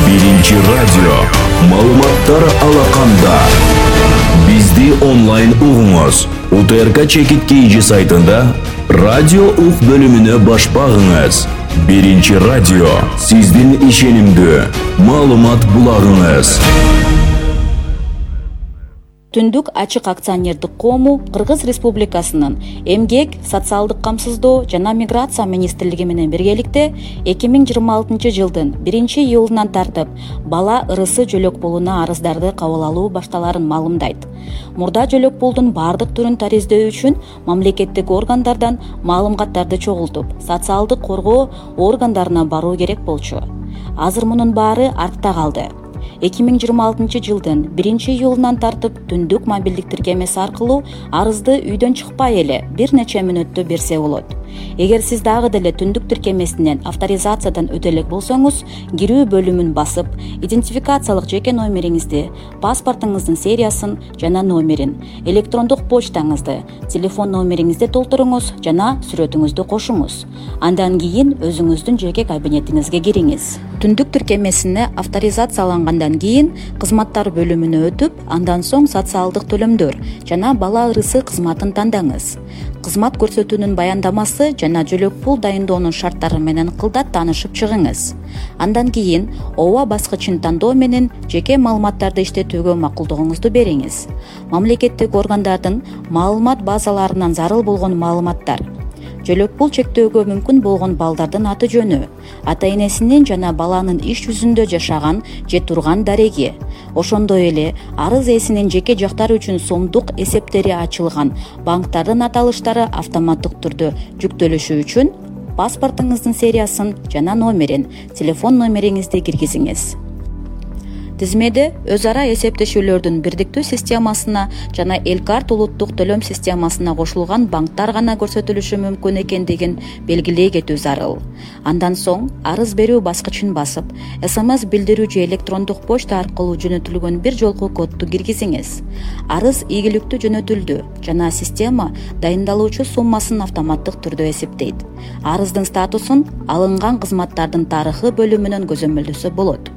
Биринчи радио. Маалыматтар алаканда. Бизди онлайн угуңуз. УТРК чекит KG сайтында радио ук бөлүмүнө баш багыңыз. Биринчи радио. Сиздин ишенимдүү маалымат булагыңыз. Түндүк ачык акционердик коому Кыргыз Республикасынын Эмгек, социалдык камсыздоо жана миграция министрлиги менен биргеликте 2026 жылдын 1-июлунан тартып бала ырысы жөлөк пулуна арыздарды кабыл алуу башталарын маалымдайт. Мурда жөлөк пулдун бардык түрүн тариздөө үчүн мамлекеттик органдардан маалыматтарды чогултуп, социалдык коргоо органдарына баруу керек болчу. Азыр мунун баары артта калды. 2026 жылдын 1-июлунан тартып түндүк мобилдик тиркемеси аркылуу арызды үйдөн чыкпай эле бир нече мүнөттө берсе болот. Эгер сиз дагы деле түндүк тиркемесинен авторизациядан өтө элек болсоңуз, кирүү бөлүмүн басып, идентификациялык жеке номериңизди, паспортуңуздун сериясын жана номерин, электрондук почтаңызды, телефон номериңизди толтуруңуз жана сүрөтүңүздү кошуңуз. Андан кийин өзүңүздүн жеке кабинетиңизге кириңиз. Түндүк тиркемесине авторизациялангандан кийин кызматтар бөлүмүнө өтүп, андан соң социалдык төлөмдөр жана бала ырысы кызматын тандаңыз. Кызмат көрсөтүүнүн баяндамасы жана жөлөк пул дайындоонун шарттары менен кылдат таанышып чыгыңыз. Андан кийин ооба баскычын тандоо менен жеке маалыматтарды иштетүүгө макулдугуңузду бериңиз. Мамлекеттик органдардын маалымат базаларынан зарыл болгон маалыматтар, жөлөк пул чектөөгө мүмкүн болгон балдардын аты жөнү, ата энесинин жана баланын иш жүзүндө жашаган же турган дареги, ошондой эле арыз ээсинин жеке жактары үчүн сомдук эсептери ачылган банктардын аталыштары автоматтык түрдө жүктөлүшү үчүн паспортуңуздун сериясын жана номерин, телефон номериңизди киргизиңиз. Тизмеде өз ара эсептешүүлөрдүн бирдиктүү системасына жана Элкарт улуттук төлөм системасына кошулган банктар гана көрсөтүлүшү мүмкүн экендигин белгилей кетүү зарыл. Андан соң арыз берүү баскычын басып, СМС билдирүү же электрондук почта аркылуу жөнөтүлгөн бир жолку кодду киргизиңиз. Арыз ийгиликтүү жөнөтүлдү жана система дайындалуучу суммасын автоматтык түрдө эсептейт. Арыздын статусун алынган кызматтардын тарыхы бөлүмүнөн көзөмөлдөсө болот.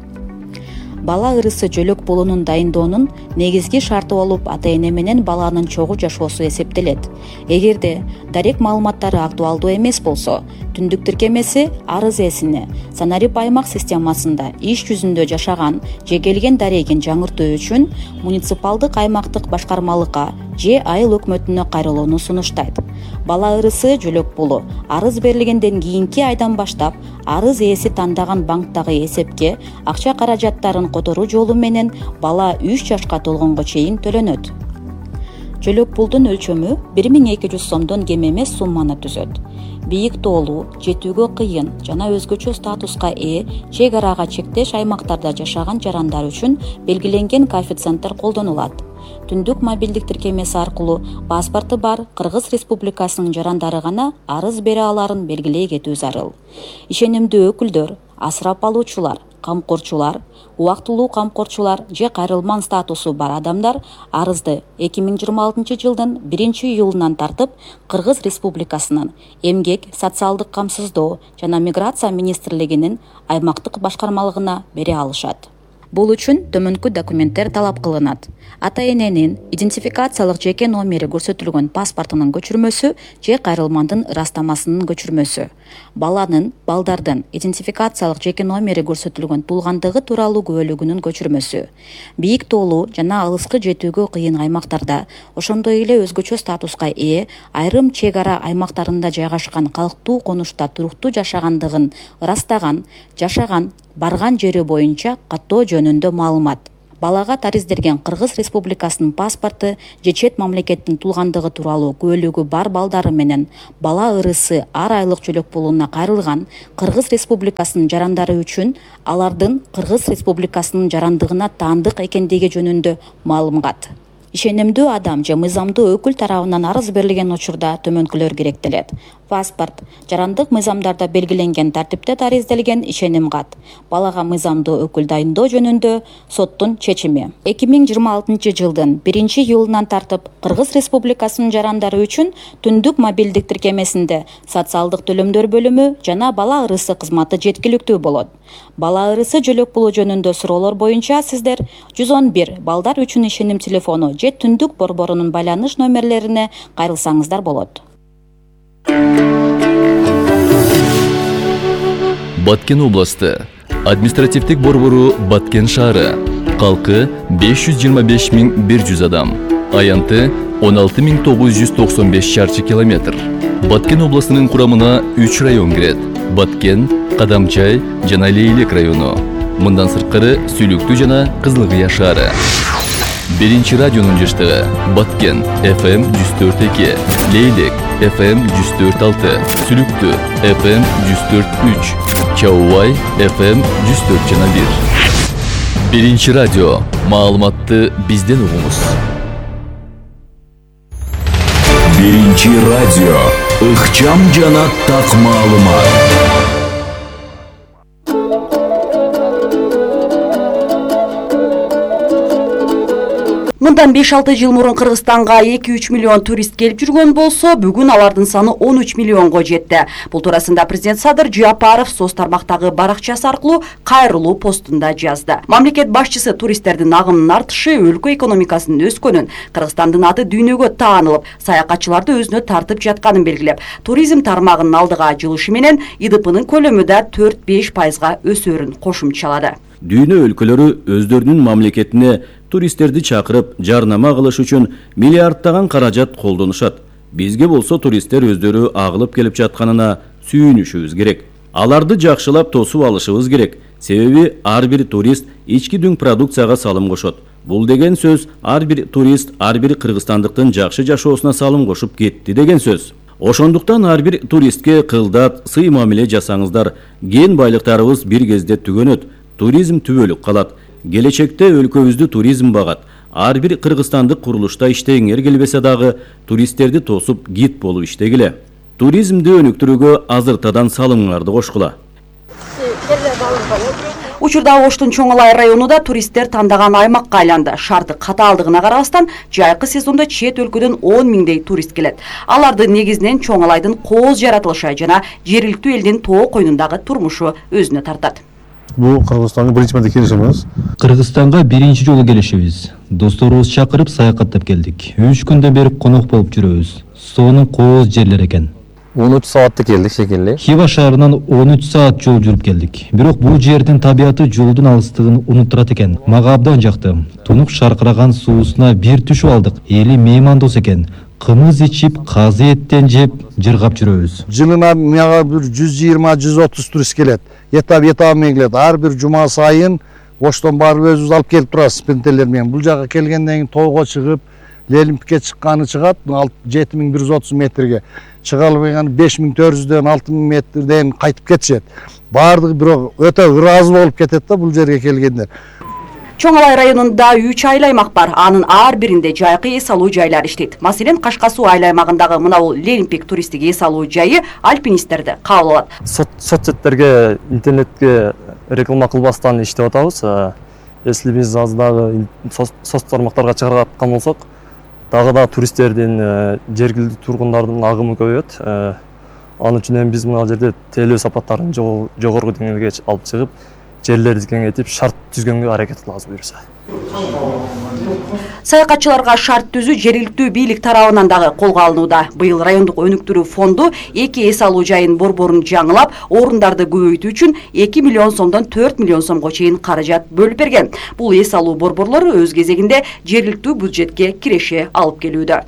Бала ырысы жөлөк пулунун дайындоонун негизги шарты болуп ата эне менен баланын чогуу жашоосу эсептелет. Эгерде дарек маалыматтары актуалдуу эмес болсо, түндүк тиркемеси арыз ээсине санарип аймак системасында иш жүзүндө жашаган же келген дарегин жаңыртуу үчүн муниципалдык аймактык башкармалыкка же айыл өкмөтүнө кайрылууну сунуштайт. Бала ырысы жөлөк пулу арыз берилгенден кийинки айдан баштап арыз ээси тандаган банктагы эсепке акча каражаттарын которуу жолу менен бала 3 жашка толгонго чейин төлөнөт. Жөлөк пулдун өлчөмү 1200 сомдон кем эмес сумманы түзөт. Бийик тоолуу, жетүүгө кыйын жана өзгөчө статуска ээ чек арага чектеш аймактарда жашаган жарандар үчүн белгиленген коэффициенттер колдонулат. Түндүк мобилдик тиркемеси аркылуу паспорту бар Кыргыз Республикасынын жарандары гана арыз бере аларын белгилей кетүү зарыл. Ишенимдүү өкүлдөр, асырап алуучулар, камкорчулар, убактылуу камкорчулар же кайрылман статусу бар адамдар арызды 2026 жылдын 1-июлунан тартып Кыргыз Республикасынын Эмгек, социалдык камсыздоо жана миграция министрлигинин аймактык башкармалыгына бере алышат. Бул үчүн төмөнкү документтер талап кылынат. Ата эненин идентификациялык жеке номери көрсөтүлгөн паспортунун көчүрмөсү же кайрылмандын ырастамасынын көчүрмөсү. Балдардын идентификациялык жеке номери көрсөтүлгөн туулгандыгы тууралуу күбөлүгүнүн көчүрмөсү. Бийик тоолуу жана алыскы жетүүгө кыйын аймактарда, ошондой эле өзгөчө статуска ээ айрым чек ара аймактарында жайгашкан калктуу конушта туруктуу жашагандыгын ырастаган, жашаган, барган жери боюнча каттоо жөнүндө маалымат. Балага тариздерген Кыргыз Республикасынын паспорту же чет мамлекеттин туулгандыгы тууралуу күбөлүгү бар балдары менен бала ырысы ар айлык жөлөк пулуна кайрылган Кыргыз Республикасынын жарандары үчүн алардын Кыргыз Республикасынын жарандыгына таандык экендиги жөнүндө маалымат. Ишенимдүү адам же мыйзамдуу өкүл тарабынан арыз берилген учурда төмөнкүлөр керектелет. паспорт, жарандык мыйзамдарда белгиленген тартипте тариздалген ишеним кат, балага мыйзамдуу өкүл дайындоо жөнүндө соттун чечими. 2026 жылдын 1-июлунан тартып Кыргыз Республикасынын жарандары үчүн түндүк мобилдик тиркемесинде социалдык төлөмдөр бөлүмү жана бала ырысы кызматы жеткиликтүү болот. Бала ырысы жөлөк пулу жөнүндө суроолор боюнча сиздер 111 балдар үчүн ишеним телефону же түндүк борборунун байланыш номерлерине кайрылсаңыздар болот. Баткен областы административдик борбору Баткен шаары. Калкы 525.100 адам. Аянты 16.995 шарчы километр. Баткен областынын курамына 3 район кирет. Баткен, Кадамчай жана Лейлек району. Мындан сырткары Сүйлүктүү жана Кызылкыя шаары. 1-чи радионун жыштыгы Баткен FM 104.2, Лейлек FM 104.6, Сүйлүктүү FM 104.3, Чаубай FM 104.1. 1-чи радио. Маалыматты бизден угуңуз. 1-чи радио. Ыкчам жана так маалымат. Мындан 5-6 жыл мурун Кыргызстанга 2-3 миллион турист келип жүргөн болсо, бүгүн алардын саны 13 миллионго жетти. Бул туурасында президент Садыр Жапаров соц тармактагы баракчасы аркылуу кайрылуу постунда жазды. Мамлекет башчысы туристтердин агымынын артышы, өлкө экономикасынын өскөнүн, Кыргызстандын аты дүйнөгө таанылып, саякатчыларды өзүнө тартып жатканын белгилеп, туризм тармагынын алдыга жылышы менен ИДПнын көлөмү да 4-5% өсөрүн кошумчалады. Дүйнө өлкөлөрү өздөрүнүн мамлекетине туристтерди чакырып, жарнама кылыш үчүн миллиардтаган каражат колдонушат. Бизге болсо туристтер өздөрү агылып келип жатканына сүйүнүшүбүз керек. Аларды жакшылап тосуп алышыбыз керек. Себеби ар бир турист ички дүң продукцияга салым кошот. Бул деген сөз ар бир турист ар бир кыргызстандыктын жакшы жашоосуна салым кошуп кетти деген сөз. Ошондуктан ар бир туристке кылдат, сый мамиле жасаңыздар. Кен байлыктарыбыз бир кезде түгөнөт. Туризм түбөлүк калат. Келечекте өлкөбүздү туризм багат. Ар бир кыргызстандык курулушта иштегиңер келбесе дагы туристтерди тосуп гид болуп иштегиле. Туризмди өнүктүрүүгө азыртадан салымыңарды кошкула. Учурда Оштун Чоңалай районунда туристтер тандаган аймакка айланды. Шарты катаалдыгына карабастан, жайкы сезондо чет өлкөдөн 10 миңдей турист келет. Аларды негизинен Чоңалайдын кооз жаратылышы жана жергиликтүү элдин тоо койнундагы турмушу өзүнө тартат. Бул Кыргызстанга биринчи марта келишибиз. Кыргызстанга биринчи жолу келишибиз. Досторубуз чакырып саякаттап келдик. 3 күндөн бери конок болуп жүрөбүз. Сонун кооз жерлер экен. 13 саатта келдик шекелли. Хива шаарынан 13 саат жол жүрүп келдик. Бирок бул жердин табияты жолдун алыстыгын унуттурат экен. Мага абдан жакты. Тунук шаркыраган суусуна бир түшүп алдык. Эли меймандос экен. Кымыз ичип, казы эттен жеп, жыргап жүрөбүз. Жылына мага бир 120-130 турист келет. Этап менен келет. Ар бир жума сайын Оштон барып өзүбүз алып келип турабыз спинтерлер менен. Бул жака келгенден кийин тоого чыгып, Лелимпикке чыкканы чыгат 7130 метрге. Чыга албаган 5400дөн 6000 метрден кайтып кетишет. Бардыгы бирок өтө ыраазы болуп кетет да бул жерге келгендер. Чоңалай районунда 3 айыл аймак бар. Анын ар биринде жайкы эс алуу жайлар иштейт. Маселен, Кашка суу айыл аймагындагы мына бул Лелимпик туристтик эс алуу жайы альпинисттерди кабыл алат. Соцсеттерге, интернетке реклама кылбастан иштеп атабыз. Если биз аз дагы соц тармактарга чыгаргаткан болсок, дагы да туристтердин, жергиликтүү тургундардын агымы көбөйөт. Анын үчүн биз мына жерде тейлөө сапаттарын жогорку деңгээлге алып чыгып, жерлерди кеңейтип, шарт түзгөнгө аракет кылабыз буюрса. Саякатчыларга шарт түзүү жергиликтүү бийлик тарабынан дагы колго алынууда. Быйыл райондук өнүктүрүү фонду 2 эс алуу жайын борборун жаңылап, орундарды көбөйтүү үчүн 2 миллион сомдон 4 миллион сомго чейин каражат бөлүп берген. Бул эс алуу борборлору өз кезегинде жергиликтүү бюджетке киреше алып келүүдө.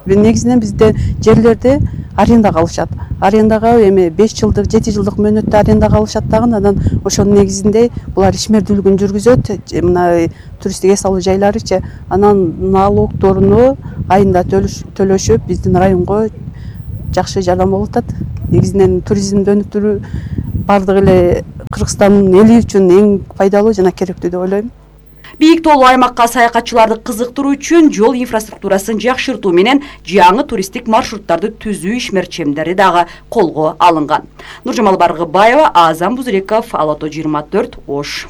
Негизинен бизде жерлерди арендага алышат. Арендага эми 5 жылдык, 7 жылдык мөөнөттө арендага алышат дагы, анан ошонун негизинде булар ишмердүүлүгүн жүргүзөт. Мына туристтик эс алуу жайларычы, анан налогдоруну айында төлөшүп, биздин районго жакшы жардам болуп атат. Негизинен туризмди өнүктүрүү бардык эле Кыргызстандын эли үчүн эң пайдалуу жана керектүү деп ойлойм. Бийик тоолуу аймакка саякатчыларды кызыктыруу үчүн жол инфраструктурасын жакшыртуу менен жаңы туристтик маршруттарды түзүү ишмерчемдери дагы колго алынган. Нуржамал Баргыбаева, Азам Бузреков, Алото 24, Ош.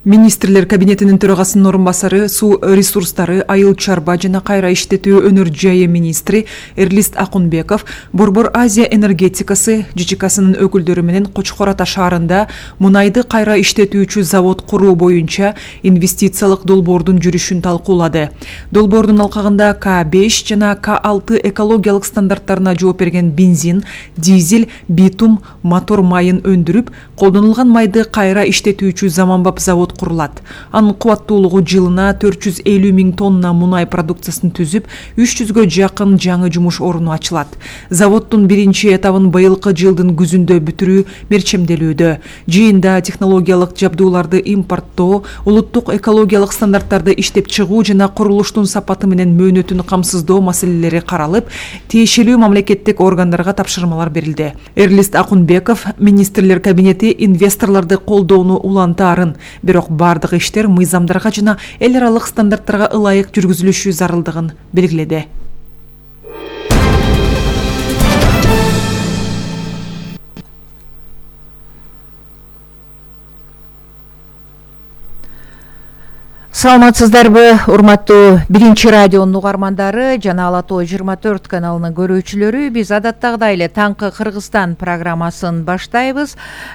Министрлер кабинетинин төрагасынын орун басары, суу ресурстары, айыл чарба жана кайра иштетүү өнөр жайы министри Эрлист Акунбеков Борбор Азия энергетикасы ЖЧКсынын өкүлдөрү менен Кочкор Ата шаарында мунайды кайра иштетүүчү завод куруу боюнча инвестициялык долбоордун жүрүшүн талкуулады. Долбоордун алкагында К5 жана К6 экологиялык стандарттарына жооп берген бензин, дизель, битум, мотор майын өндүрүп, колдонулган майды кайра иштетүүчү заманбап завод курулат. Анын кубаттуулугу жылына 450 000 тонна мунай продукциясын түзүп, 300гө жакын жаңы жумуш орну ачылат. Заводдун биринчи этабын быйылкы жылдын күзүндө бүтүрүү мерчемделүүдө. Жыйында технологиялык жабдууларды импорттоо, улуттук экологиялык стандарттарды иштеп чыгуу жана курулуштун сапаты менен мөөнөтүн камсыздоо маселелери каралып, тиешелүү мамлекеттик органдарга тапшырмалар берилди. Эрлист Акунбеков министрлер кабинети инвесторлорду колдоону улантаарын, бирок бардык иштер мыйзамдарга жана эл аралык стандарттарга ылайык жүргүзүлүшү зарылдыгын белгиледи. Саламатсыздарбы, урматтуу биринчи радионун угармандары жана Алато 24 каналынын көрүүчүлөрү. Биз адаттагыдай эле таңкы Кыргызстан программасын баштайбыз.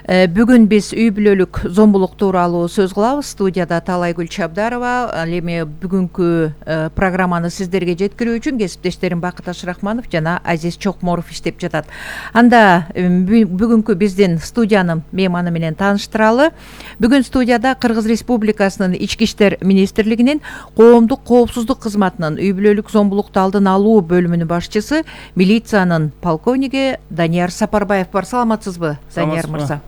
Бүгүн биз үй бүлөлүк зомбулук тууралуу сөз кылабыз. Студияда Талайгүл Чабдарова. Ал эми бүгүнкү программаны сиздерге жеткирүү үчүн кесиптештерим Бакыт Ашрахманов жана Азиз Чокморов иштеп жатат. Анда бүгүнкү биздин студиянын мейманы менен тааныштыралы. Бүгүн студияда Кыргыз Республикасынын ички иштер министрлигинин коомдук коопсуздук кызматынын үй бүлөлүк зомбулукту алдын алуу бөлүмүнүн башчысы, милициянын полковниги Данияр Сапарбаев бар. Саламатсызбы, Данияр мырза?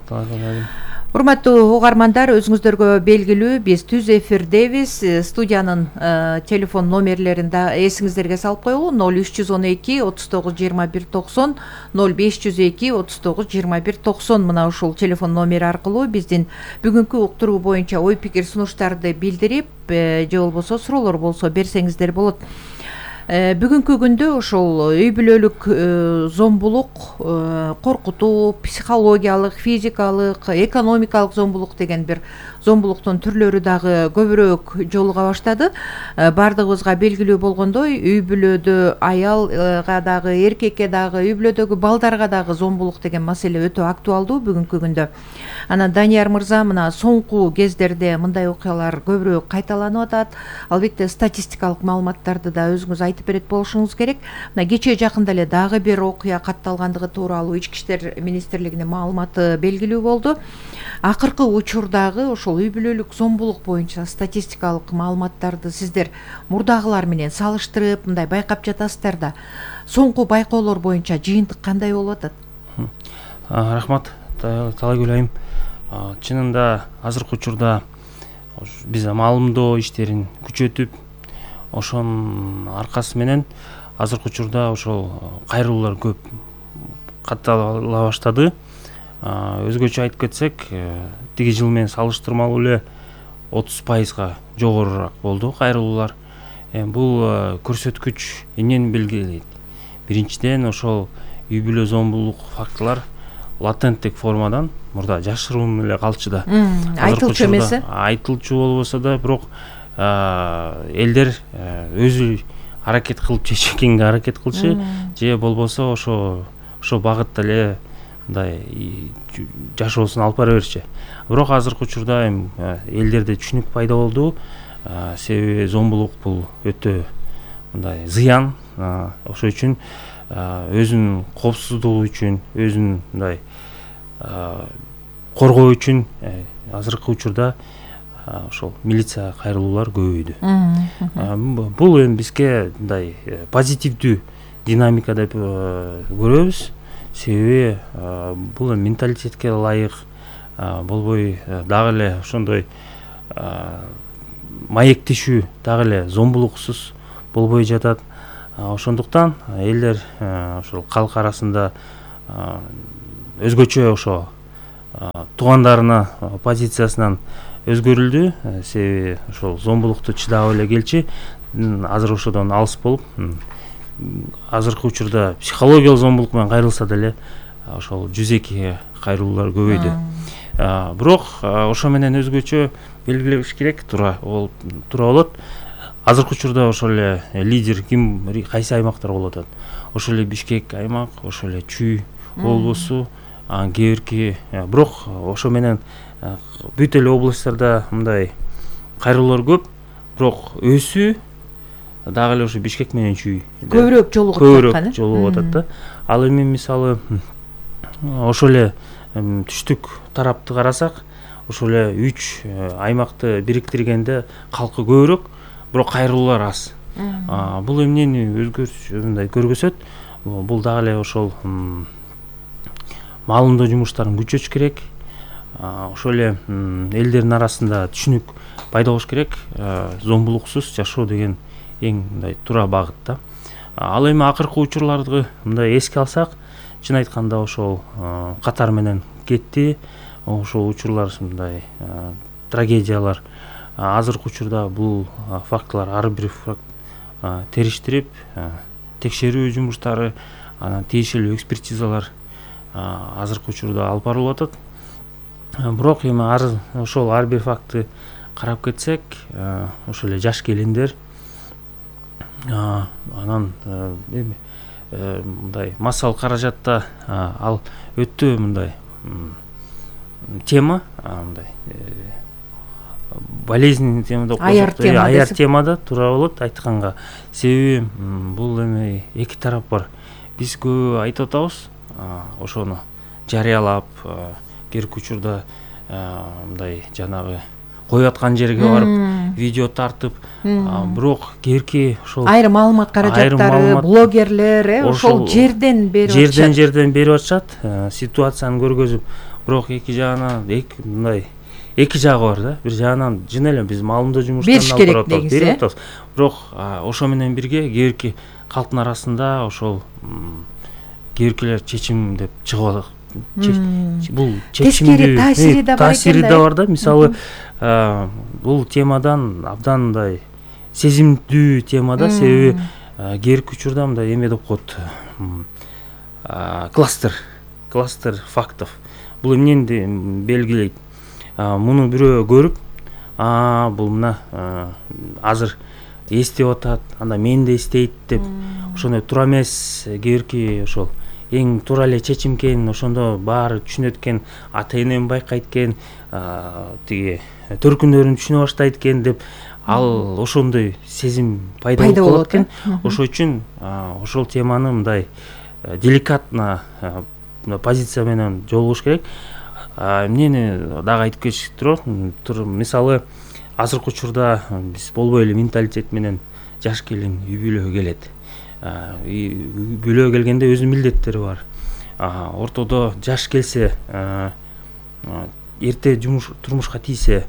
Урматтуу угармандар, өзүңүздөргө белгилүү, биз түз эфирдебиз. Студиянын телефон номерлерин да эсиңиздерге салып коелу: 0312 39 21 90, 0502 39 21 90. Мына ушул телефон номери аркылуу биздин бүгүнкү уктуруу боюнча ой пикир сунуштарды билдирип, же болбосо суроолор болсо берсеңиздер болот. Бүгүнкү күндө ошол үй бүлөлүк зомбулук, коркутуу, психологиялык, физикалык, экономикалык зомбулук деген бир зомбулуктун түрлөрү дагы көбүрөөк жолуга баштады. Бардыгыбызга белгилүү болгондой, үй бүлөдө аялга дагы, эркекке дагы, үй бүлөдөгү балдарга дагы зомбулук деген маселе өтө актуалдуу бүгүнкү күндө. Анан Данияр мырза, мына соңку кездерде мындай окуялар көбүрөөк кайталанып атат. Албетте статистикалык маалыматтарды да өзүңүз айтып берет болушуңуз керек. Мына кечээ жакында эле дагы бир окуя катталгандыгы тууралуу Ички иштер министрлигинин маалыматы белгилүү болду. Акыркы учурдагы ошол үй бүлөлүк зомбулук боюнча статистикалык маалыматтарды сиздер мурдагылар менен салыштырып, мындай байкап жатасыздар да. Соңку байкоолор боюнча жыйынтык кандай болуп атат? Рахмат, Талайгүл айым. Чынында азыркы учурда биз маалымдоо иштерин күчөтүп, ошонун аркасы менен азыркы учурда ошол кайрылуулар көп каттала баштады. Өзгөчө айтып кетсек, тиги жыл менен салыштырмалуу эле 30%га жогорураак болду кайрылуулар. Бул көрсөткүч эмнени белгилейт? Биринчиден, ошол үй бүлө зомбулук фактылар латенттик формадан мурда жашыруун эле калчу да. Айтылчу эмеси? Айтылчу болбосо да, бирок элдер өзү аракет кылып чечкенге аракет кылчу, же болбосо ошо багытта эле мындай жашоосун алып бара берчү. Бирок азыркы учурда элдерде түшүнүк пайда болду. Себеби зомбулук бул өтө мындай зыян. Ошол үчүн өзүнүн коопсуздугу үчүн, өзүн мындай коргоо үчүн азыркы учурда ошол милиция кайрылуулар көбөйдү. Бул эми бизге мындай позитивдүү динамика деп көрөбүз. Себеби бул менталитетке ылайык болбой дагы эле ошондой маектешүү дагы эле зомбулуксуз болбой жатат. Ошондуктан элдер ошол калк арасында өзгөчө ошо туугандарына позициясынан өзгөрүлдү, себеби ошол зомбулукту чыдап эле келчи азыр ошодон алыс болуп, азыркы учурда психологиялык зомбулук менен кайрылса деле ошол 102 кайрылуулар көбөйдү. Бирок ошо менен өзгөчө белгилеш керек, туура болот. Азыркы учурда ошол эле лидер ким, кайсы аймактар болуп атат? Ошол эле Бишкек аймак, ошол эле Чүй облусу, кээ бирок ошо менен бүт эле областтарда мындай кайрылуулар көп, бирок өсүү дагы эле ошо Бишкек менен Чүй көбүрөөк жолугуп атат да. Ал эми мисалы ошол эле түштүк тарапты карасак, ошол эле 3 аймакты бириктиргенде калкы көбүрөөк, бирок кайрылуулар аз. Бул эмнени мындай көргөзөт? Бул дагы эле ошол маалымдоо жумуштарын күчөтүш керек. Ошол эле элдердин арасында түшүнүк пайда болуш керек. Зомбулуксуз жашоо деген эң мындай туура багыт да. Ал эми акыркы учурларды мындай эске алсак, чын айтканда ошол катар менен кетти. Ошол учурлар мындай трагедиялар. Азыркы учурда бул фактылар ар бир териштирип, текшерүү жумуштары, анан тиешелүү экспертизалар азыркы учурда алып барылып атат. Бирок эми ошол ар бир фактты карап кетсек, ошол эле жаш келиндер, анан мындай массалык каражатта ал өтө мындай тема, мындай болезненный темада, аяр темада туура болот айтканга. Себеби бул эми эки тарап бар. Биз көп айтып атабыз, ошону жарыялап, керки учурда мындай жанагы коюп аткан жерге барып видео тартып, бирок керки ошол айрым маалымат каражаттары, блогерлер ошол жерден берип атышат, ситуацияны көргөзүп. Бирок эки жагынан мындай эки жагы бар да. Бир жагынан жөн эле биз маалымдоо жумуштарын алып берип атабыз. Бирок ошо менен бирге кээбирки калктын арасында ошол кээбиркилер чечим деп чыгып атат. Бул чечимдүү таасири да бар да. Мисалы бул темадан абдан мындай сезимдүү тема да, себеби кээбирки учурда мындай эме деп коет, кластер фактов. Бул эмнени белгилейт? Муну бирөө көрүп, бул мына азыр эстеп атат, анда мен да эстейт деп, ошондой туура эмес, кээбирки ошол эң туура эле чечим экен, ошондо баары түшүнөт экен, ата энем байкайт экен, тиги төркүндөрүн түшүнө баштайт экен деп, ал ошондой сезим пайда болот экен. Ошол үчүн ошол теманы мындай деликатно позиция менен жолугуш керек. Эмнени дагы айтып кетиш турат. Мисалы азыркы учурда биз болбой эле менталитет менен жаш келин үй бүлөгө келет. Үй бүлөгө келгенде өзүнүн милдеттери бар. Ортодо жаш келсе, эрте турмушка тийсе,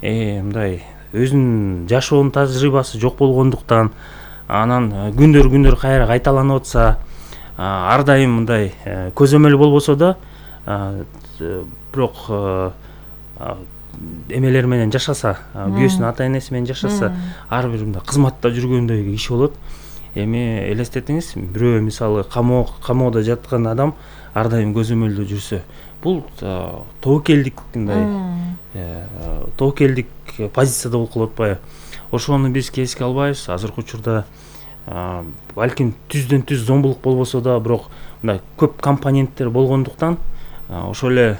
мындай өзүнүн жашоонун тажрыйбасы жок болгондуктан, анан күндөр кайра кайталанып атса, ар дайым мындай көзөмөл болбосо да, бирок эмелер менен жашаса, күйөөсүнүн ата энеси менен жашаса, ар бир мындай кызматта жүргөндөй иш болот. Эми элестетиңиз, бирөө мисалы камоодо жаткан адам ар дайым көзөмөлдө жүрсө, бул тобокелдик позицияда болуп калып атпайбы? Ошону биз эске албайбыз. Азыркы учурда балким түздөн түз зомбулук болбосо да, бирок мындай көп компоненттер болгондуктан ошол эле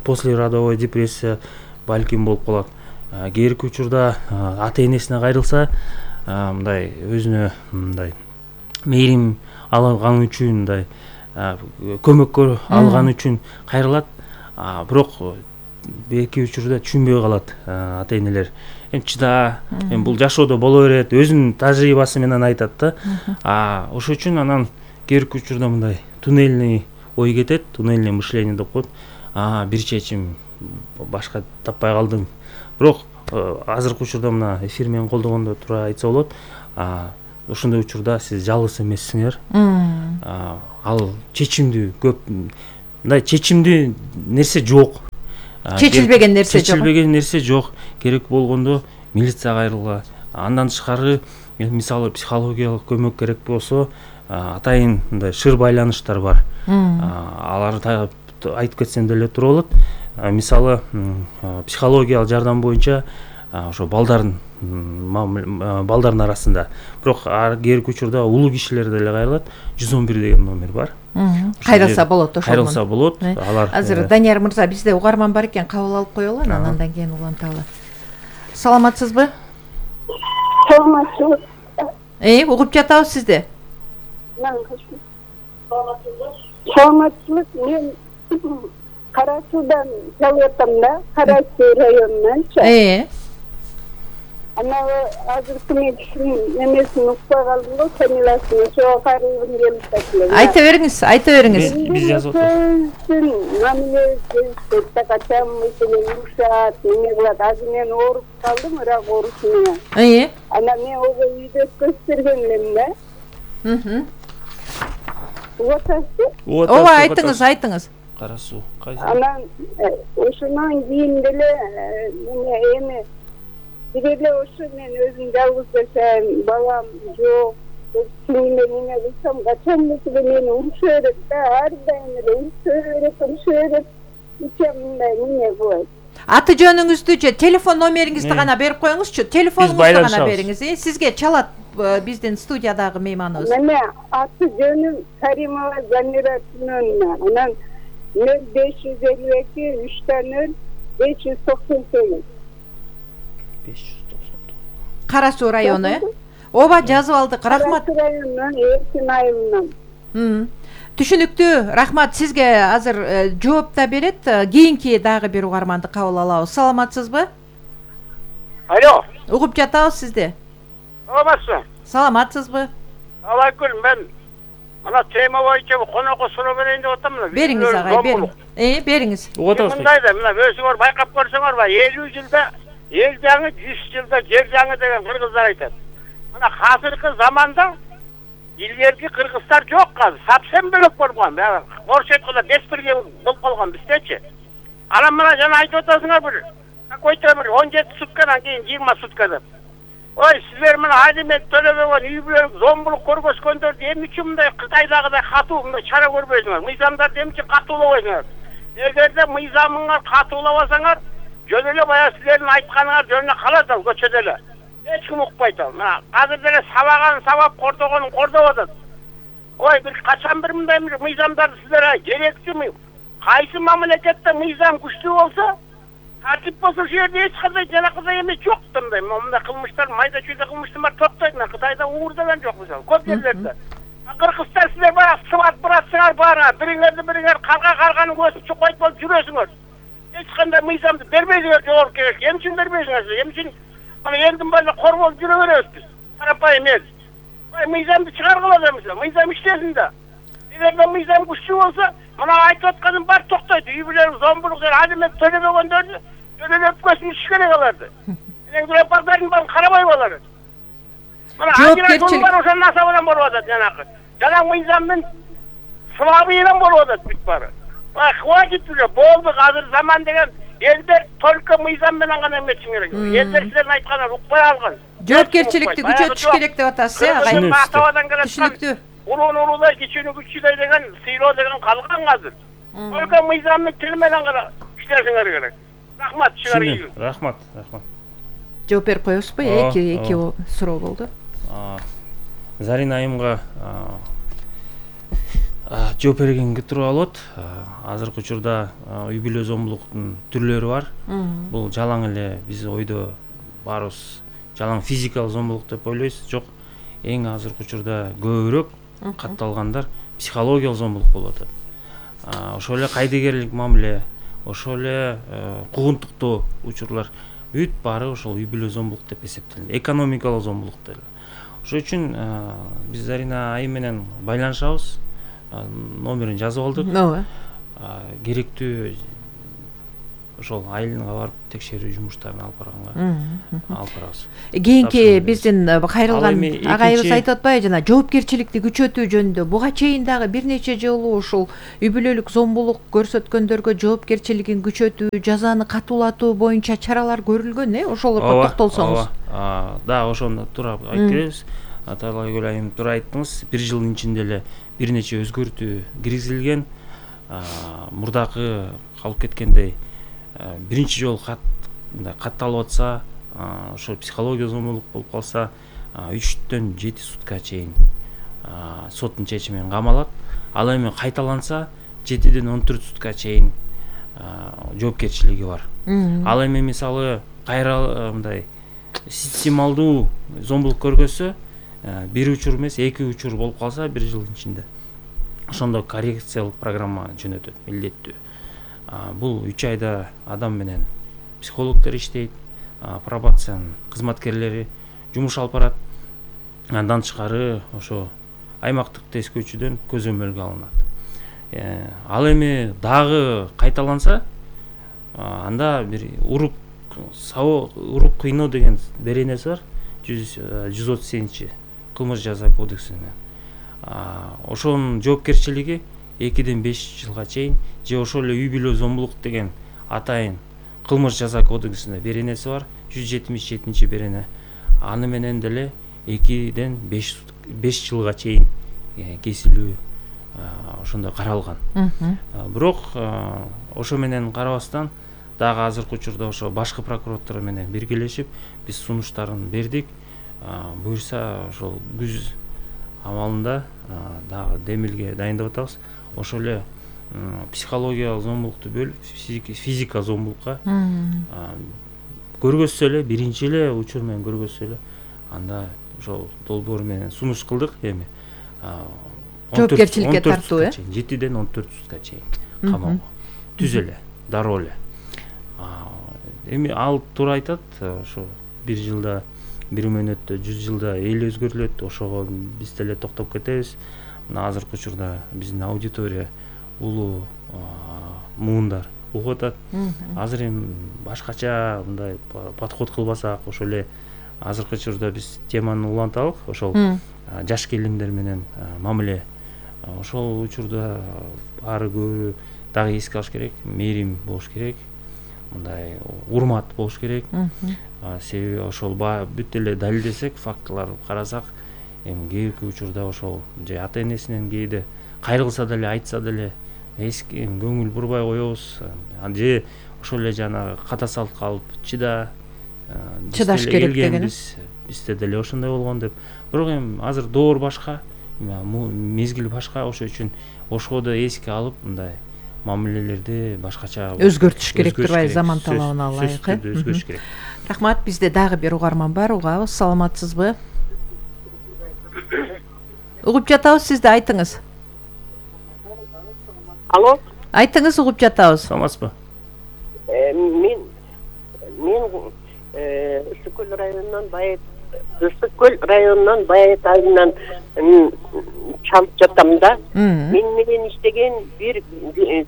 послеродовой депрессия балким болуп калат. Кээбирки учурда ата энесине кайрылса, мындай өзүнө мындай мээрим алган үчүн, мындай көмөккө алган үчүн кайрылат, бирок эки учурда түшүнбөй калат ата энелер. Чыда, бул жашоодо боло берет, өзүнүн тажрыйбасы менен айтат да. Ошол үчүн анан кээбирки учурда мындай туннельный ой кетет, туннельный мышление деп коет. Бир чечим, башка таппай калдым. Бирок азыркы учурда мына эфир менен колдогондо туура айтса болот. Ошондой учурда сиз жалгыз эмессиңер. Ал чечимдүү көп, мындай чечимдүү нерсе жок. чечилбеген нерсе жок. Чечилбеген нерсе жок. Керек болгондо милицияга кайрылгыла. Андан тышкары мисалы психологиялык көмөк керек болсо атайын мындай шыр байланыштар бар. Аларды айтып кетсем деле туура болот. Мисалы психологиялык жардам боюнча ошо балдардын арасында, бирок кээинки учурда улуу кишилер деле кайрылат. 111 деген номер бар. Кайрылса болот ошол. Кайрылса болот. Алар азыр Данияр мырза, бизде угарман бар экен, кабыл алып коелу, андан кийин уланталы. Саламатсызбы? Саламатсызбы. Угуп жатабыз сизди. Саламатсызбы. Мен Кара Суудан чалып да, Кара Суу районунан. Ана азыркы мен немесин укпай калдым го, фамилиясын ошого кайрылгым келип атат. Айта бериңиз. Биз жазып атабыз. Мамиле качан мисалы урушат, неме кылат. Азыр мен ооруп калдым, ырак оорусу менен. Ана мен ого үйдө көстөргөн элем да. Ооба, айтыңыз. Кара Суу. Анан ошондон кийин деле эми биреле ошо мен өзүм жалгыз жашайм, балам жок. Сиңиме неме кылсам, качан мисалы мени уруша берет да, ар дайым эле уруша берет. Ичем мындай неме кылат. Аты жөнүңүздү же телефон номериңизди гана берип коюңузчу. Телефонуңузду гана бериңиз. Сизге чалат биздин студиядагы мейманыбыз. Мына аты жөнүм Каримова Замира Тунуновна. Анан 0552 3 598. Кара Суу району, Ооба, жазып алдык. Рахмат. Кара Суу районунан Эркин айылынан. Түшүнүктүү. Рахмат. Сизге азыр жооп да берет. Кийинки дагы бир угарманды кабыл алабыз. Саламатсызбы? Алло. Угуп жатабыз сизди. Саламатсызбы? Саламатсызбы? Алайкүл, мен ана тема боюнча конокко суроо берейин деп атам. Бериңиз агай, бериңиз. Бериңиз. Мындай да, мына өзүңөр байкап көрсөңөр, 50 жылда эл жаңы, 100 жылда жер жаңы деген кыргыздар айтат. Мына азыркы заманда илгерки кыргыздар жок азыр, совсем бөлөк болгон. Орус айтканда беспирге болуп калган биздечи. Анан мына жана айтып атасыңар бир какой-то 17 суткадан кийин 20 сутка деп. Ой, силер мына алимент төлөбөгөн үй бүлөлүк зомбулук көргөзгөндөрдү эмне үчүн мындай Кытайдагыдай катуу мындай чара көрбөйсүңөр? Мыйзамдарды эмне үчүн катуулабайсыңар? Эгерде мыйзамыңар катуулабасаңар, жөн эле баягы силердин айтканыңар жөнүнө калат ал көчөдө эле. Эч ким укпайт ал. Мына азыр деле сабаган сабап, кордогонун кордоп атат. Ой, бир качан бир мындай мыйзамдарды силер керектүүмү? Кайсы мамлекетте мыйзам күчтүү болсо, тартип болсо ошол жерде эч кандай жанакындай эме жок мындай. Мындай кылмыштар, майда чүйдө кылмыштар токтойт. Мына Кытайда уур деген жок мисалы, көп жерлерде. Кыргызстан силер баягы сыбат баратсыңар баары, бириңер карганын көзүн чукойт болуп жүрөсүңөр. Эч кандай мыйзамды бербейсиңер жогорку кеңешке. Эмне үчүн бербейсиңер? Эмне үчүн мына элдин баары корголуп жүрө беребиз биз? Карапайым эл. Мыйзамды чыгаргыла демесе, мыйзам иштесин да. Эгерде мыйзам күчтүү болсо, мына айтып атканым бар токтойт. Үй бүлөлүк зомбулук, алимент төлөбөгөндөрдү төлөп көсүн керек аларды. Лепардардын баарын карабай алар. Мына ажыратуу бар ошонун асабынан болуп атат жанакы. Жана мыйзамдын слабыйынан болуп атат бүт баары. Хватит уже, болду, азыр заман деген элдер только мыйзам менен гана эметишин керек. Элдер силердин айтканыңар укпай алган. Жоопкерчиликти күчөтүш керек деп атасыз, агай. Түшүнүктүү. Улуун улуудай, кичүүнү күчүүдөй деген сыйлоо деген калган азыр. Только мыйзамдын тили менен гана иштешиңер керек. Рахмат, чыгарыйын. Рахмат. Жооп берип коесузбу? Эки суроо болду. Зарина айымга жооп бергенге туура болот. Азыркы учурда үй бүлө зомбулуктун түрлөрү бар. Бул жалаң эле биз ойдо баарыбыз жалаң физикалык зомбулук деп ойлойбуз. Жок, эң азыркы учурда көбүрөөк катталгандар психологиялык зомбулук болуп атат. Ошол эле кайдыгерлик мамиле, ошол эле куугунтуктоо учурлар бүт баары ошол үй бүлө зомбулук деп эсептелет. Экономикалык зомбулук деле. Ошол үчүн биз Зарина айым менен байланышабыз. Номерин жазып алдык. Керектүү ошол айылга барып текшерүү жумуштарын алып барабыз. Кийинки биздин кайрылган Ал эми агайыбыз айтып атпайбы, жана жоопкерчиликти күчөтүү жөнүндө буга чейин дагы бир нече жолу ушул үй бүлөлүк зомбулук көрсөткөндөргө жоопкерчилигин күчөтүү, жазаны катуулатуу боюнча чаралар көрүлгөн, ошолорго токтолсоңуз. Да, ошону туура айтып беребиз. Аталай Гүлайым туура айттыңыз. Бир жылдын ичинде эле бир нече өзгөртүү киргизилген. Мурдакы калып кеткендей биринчи жолу катталып атса, ошо психология зомбулук болуп калса 3-төн 7 сутка чейин соттун чечими менен камалат. Ал эми кайталанса 7-ден 14 сутка чейин жоопкерчилиги бар. Ал эми мисалы кайра мындай системалдуу зомбулук көргөзсө, бир учур эмес, 2 учур болуп калса бир жылдын ичинде, ошондо коррекциялык программа жөнөтөт, милдеттүү. Бул 3 айда адам менен психологдор иштейт, пробациянын кызматкерлери жумуш алып барат. Андан тышкары ошо аймактык тескөөчүдөн көзөмөлгө алынат. Ал эми дагы кайталанса, анда бир уруп кыйноо деген беренеси бар, 137 кылмыш жаза кодексинде. Ошонун жоопкерчилиги 2-ден 5 жылга чейин, же ошол эле үй бүлө зомбулук деген атайын кылмыш жаза кодексинде беренеси бар, 177 берене. Аны менен деле 2-ден 5 жылга чейин кесилүү ошондой каралган. Бирок ошо менен карабастан дагы азыркы учурда ошо башкы прокуратура менен биргелешип биз сунуштарын бердик. Буюрса ошол күз амалында дагы демилге дайындап атабыз. Ошол эле психологиялык зомбулукту бөлүп физика зомбулукка көргөзсө эле, биринчи эле учур менен көргөзсө эле, анда ошол долбоор менен сунуш кылдык. Эми жоопкерчиликке тартуу, 7-ден 14 сутка чейин камалга түз эле, дароо эле. Эми ал туура айтат, ошо бир жылда, бир мөөнөттө 100 жылда эл өзгөрүлөт, ошого биз деле токтоп кетебиз. Мына азыркы учурда биздин аудитория улуу муундар угуп атат. Азыр эми башкача мындай подход кылбасак, ошол эле азыркы учурда биз теманы уланталык, ошол жаш келиндер менен мамиле. Ошол учурда баары көбү дагы эске алыш керек, мээрим болуш керек, мындай урмат болуш керек. Себеби ошол бүт эле далилдесек, фактыларды карасак, эми кээки учурда ошол же ата энесинен кээде кайрылса деле, айтса деле эски көңүл бурбай коебуз. Же ошол эле жанагы ката салтка алып чыдаш керек деген. Бизде деле ошондой болгон деп. Бирок эми азыр доор башка, мезгил башка, ошо үчүн ошого да эске алып, мындай мамилелерди башкача өзгөртүш керек турбайбы, заман талабына ылайык. Өзгөрүш керек. Рахмат, бизде дагы бир угарман бар, угабыз. Саламатсызбы? Угуп жатабыз, сизди айтыңыз. Алло. Айтыңыз, угуп жатабыз. Саламатсызбы? Мен Ысык-Көл районунан Байет айылынан чалып жатам да. Мен менен иштеген бир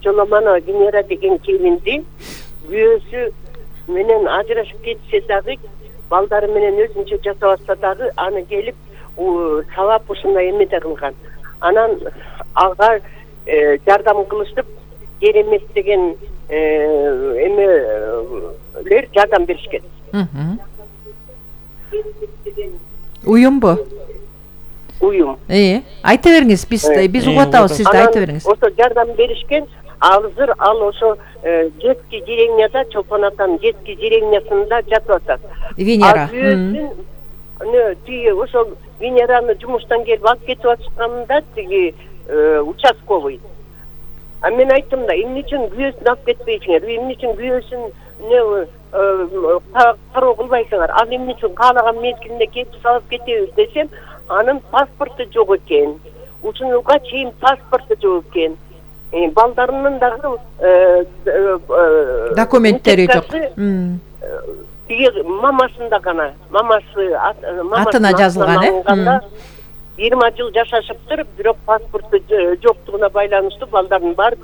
Жоламана Венера деген келинди күйөөсү менен ажырашып кетсе дагы, балдары менен өзүнчө жашап атса дагы, аны келип сабап ушундай эмеде кылган. Анан ага жардам кылышып, Керемет деген эмелер жардам беришкен. Уюмбу? Уюм. Айта бериңиз, биз угуп атабыз, сизди айта бериңиз. Ошо жардам беришкен. Азыр ал ошо детский деревняда, Чолпон атанын детский деревнясында жатып атат. Венера. Ошол Венераны жумуштан келип алып кетип атышканда тиги участковый. Мен айттым да, эмне үчүн күйөөсүн алып кетпейсиңер, эмне үчүн күйөөсүн кароо кылбайсыңар, ал эмне үчүн каалаган мезгилинде келип салып кетебиз десем, анын паспорту жок экен. Ушунга чейин паспорту жок экен. Балдарынын дагы документтери жок. Тиги мамасында гана, мамасы атына жазылган, 20 жыл жашашыптыр, бирок паспорту жоктугуна байланыштуу балдардын баары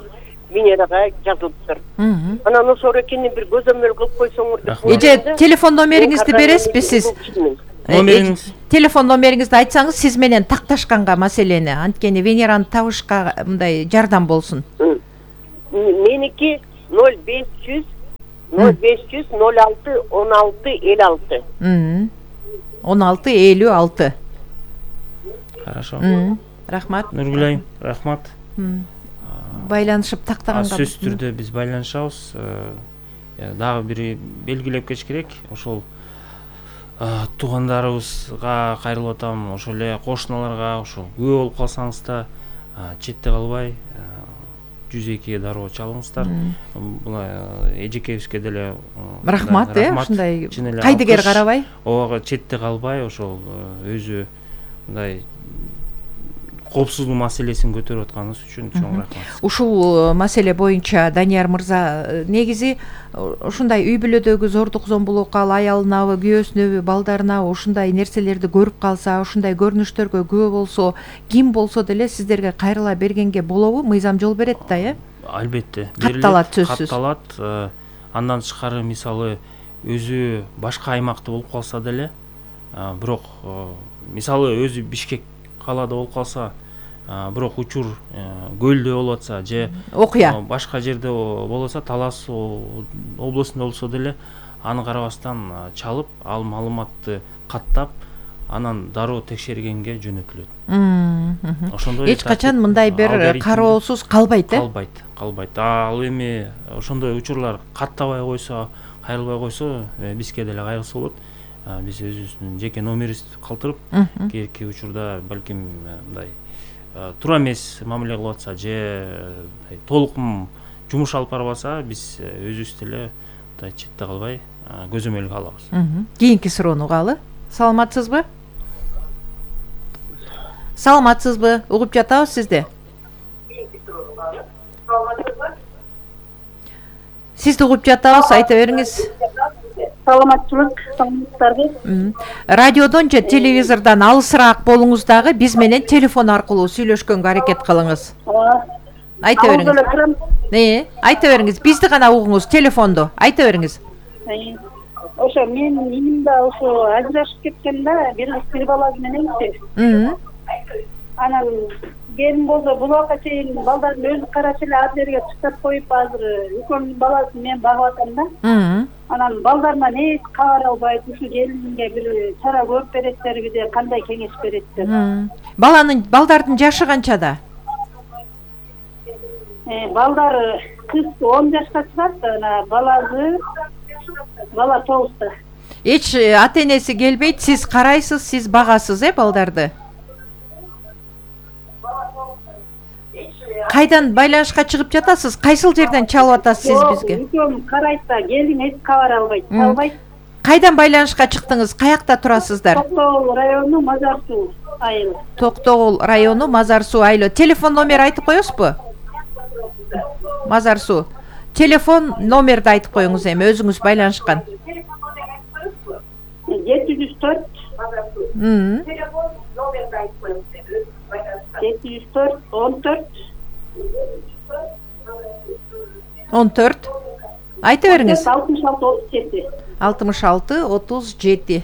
Венерага жазылыптыр. Анан ошол экенин бир көзөмөл кылып койсоңор деп. Эже телефон номериңизди бересизби сиз? Номериңиз? Телефон номериңизди айтсаңыз, сиз менен такташканга маселени, анткени Венераны табышка мындай жардам болсун. Меники 0500 06 16 56. 16 56. Хорошо. Рахмат. Нургүл айым, рахмат. Байланышып тактаганга. Сөзсүз түрдө биз байланышабыз. Дагы бир белгилеп кетиш керек. Ошол туугандарыбызга кайрылып атам, ошол эле кошуналарга, ошол күбө болуп калсаңыз да четте калбай 102 дароо чалыңыздар. Бул эжекебизге деле рахмат, ушундай кайдыгер карабай. Ого четте калбай, ошол өзү мындай коопсуздук маселесин көтөрүп атканыңыз үчүн чоң рахмат. Ушул маселе боюнча Данияр мырза, негизи ушундай үй бүлөдөгү зордук зомбулукка аялынабы, күйөөсүнөбү, балдарына ушундай нерселерди көрүп калса, ушундай көрүнүштөргө күбө болсо, ким болсо деле сиздерге кайрыла бергенге болобу? Мыйзам жол берет да, Албетте. Катталат сөзсүз. Катталат. Андан тышкары мисалы өзү башка аймакта болуп калса деле, бирок мисалы өзү Бишкек калаада болуп калса, бирок учур көлдө болуп атса же окуя башка жерде болуп атса, Талас областында болсо деле, аны карабастан чалып, ал маалыматты каттап, анан дароо текшергенге жөнөтүлөт. Ошондой эч качан мындай бир кароосуз калбайт, Калбайт. Ал эми ошондой учурлар каттабай койсо, кайрылбай койсо, бизге деле кайгысы болот. Биз өзүбүздүн жеке номерибизди калтырып, кийинки учурда балким мындай туура эмес мамиле кылып атса же толук жумуш алып барбаса, биз өзүбүз деле четте калбай көзөмөлгө алабыз. Кийинки суроону угалы. Саламатсызбы? Угуп жатабыз сизди. Сизди угуп жатабыз, айта бериңиз. Саламатчылык, саламаттарбы? Радиодон же телевизордон алысыраак болуңуз дагы биз менен телефон аркылуу сүйлөшкөнгө аракет кылыңыз. Айта бериңиз. Айта бериңиз. Бизди гана угуңуз, телефонду. Айта бериңиз. Ошо мен иним да ошо ажырашып кеткен да, бир бала мененчи. Анан келин болсо бул убакка чейин балдарын өзү карап эле ар жерге чыктап коюп, азыр экөөнүн баласын мен багып атам да. Анан балдарынан эч кабар албайт, ушу келинге бир чара көрүп береттерби деп, кандай кеңеш береттер? Балдардын жашы канчада? Балдары кыз 10 жашка чыгат, бала 9-та. Эч ата-энеси келбейт, сиз карайсыз, сиз багасыз, балдарды? Кайдан байланышка чыгып жатасыз? Кайсыл жерден чалып атасыз сиз бизге? Экөөм карайт да, келин эч кабар албайт. Кайдан байланышка чыктыңыз? Каякта турасыздар? Токтогул району Мазар Суу айылы. Токтогул району Мазар Суу айылы. Телефон номер айтып коесузбу? Мазар Суу. Телефон номерди айтып коюңуз эми, өзүңүз байланышкан. 704. Телефон номерди айтып коюңуз. 704 14. Айта бериңиз. 66 36 37.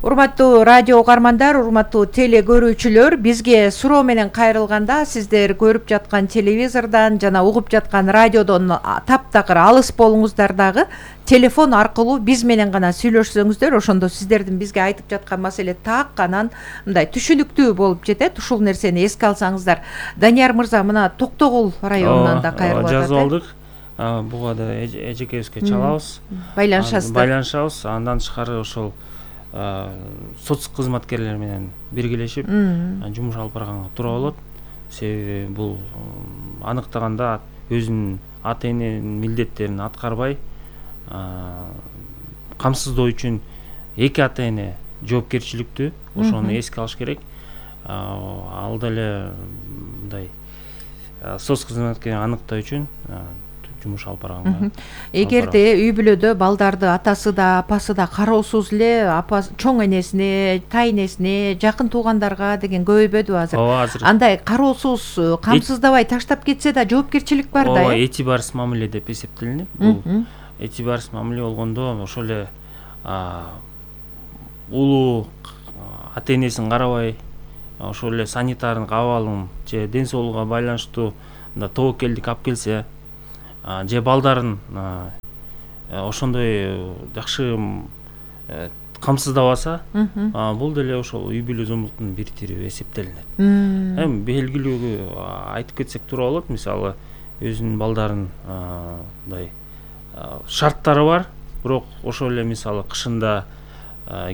Урматтуу радио угармандар, урматтуу теле көрүүчүлөр, бизге суроо менен кайрылганда сиздер көрүп жаткан телевизордон жана угуп жаткан радиодон таптакыр алыс болуңуздар дагы телефон аркылуу биз менен гана сүйлөшсөңүздөр, ошондо сиздердин бизге айтып жаткан маселе так анан мындай түшүнүктүү болуп жетет. Ушул нерсени эске алсаңыздар. Данияр мырза, мына Токтогул районунан да кайрылып атат. Жазып алдык. Буга да эжекебизге чалабыз. Байланышасыздар. Андан тышкары ошол соц кызматкерлер менен биргелешип жумуш алып барганга туура болот. Себеби бул аныктаганда өзүнүн ата-эненин милдеттерин аткарбай камсыздоо үчүн эки ата-эне жоопкерчиликтүү. Ошону эске алыш керек. Ал деле мындай соц кызматкерин аныктоо үчүн жумуш алып барганга. Эгерде үй бүлөдө балдарды атасы да апасы да кароосуз эле апасы чоң энесине тайнесине жакын туугандарга деген көбөйбөдүбү азыр? Ооба, азыр андай кароосуз камсыздабай таштап кетсе да жоопкерчилик бар да. Ооба, этибарсыз мамиле деп эсептелинет. Бул этибарсыз мамиле болгондо ошол эле улуу ата энесин карабай, ошол эле санитардык абалын же ден соолугуна байланыштуу тобокелдик алып келсе, же балдарын ошондой жакшы камсыздабаса, бул деле ошол үй бүлө зомбулуктун бир тири эсептелинет. Эми белгилүү айтып кетсек туура болот. Мисалы, өзүнүн балдарын мындай шарттары бар, бирок ошол эле мисалы кышында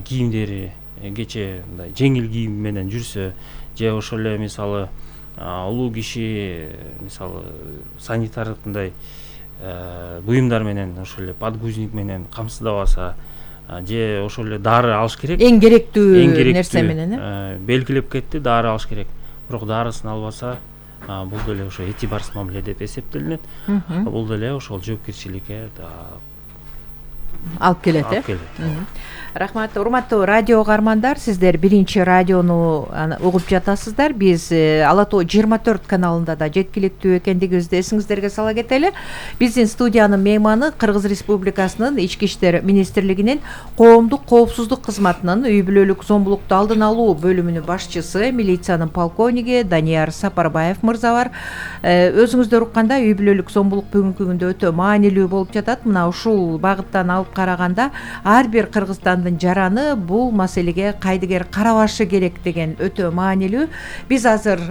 кийимдери кече мындай жеңил кийим менен жүрсө, же ошол эле мисалы улуу киши мисалы санитардык мындай буюмдар менен ошол эле подгузник менен камсыздабаса, же ошол эле дары алыш керек. Эң керектүү нерсе менен белгилеп кетти, дары алыш керек. Бирок дарысын албаса, бул деле ошо этибарсыз мамиле деп эсептелинет. Бул деле ошол жоопкерчиликке алып келет. Рахмат, урматтуу радио угармандар, сиздер биринчи радиону угуп жатасыздар. Биз Ала Тоо 24 каналында да жеткиликтүү экендигибизди эсиңиздерге сала кетели. Биздин студиянын мейманы Кыргыз Республикасынын Ички иштер министрлигинин коомдук коопсуздук кызматынын үй бүлөлүк зомбулукту алдын алуу бөлүмүнүн башчысы, милициянын полковниги Данияр Сапарбаев мырза бар. Өзүңүздөр уккандай үй бүлөлүк зомбулук бүгүнкү күндө өтө маанилүү болуп жатат. Мына ушул багыттан алып караганда ар бир кыргызстандын жараны бул маселеге кайдыгер карабашы керек деген өтө маанилүү. Биз азыр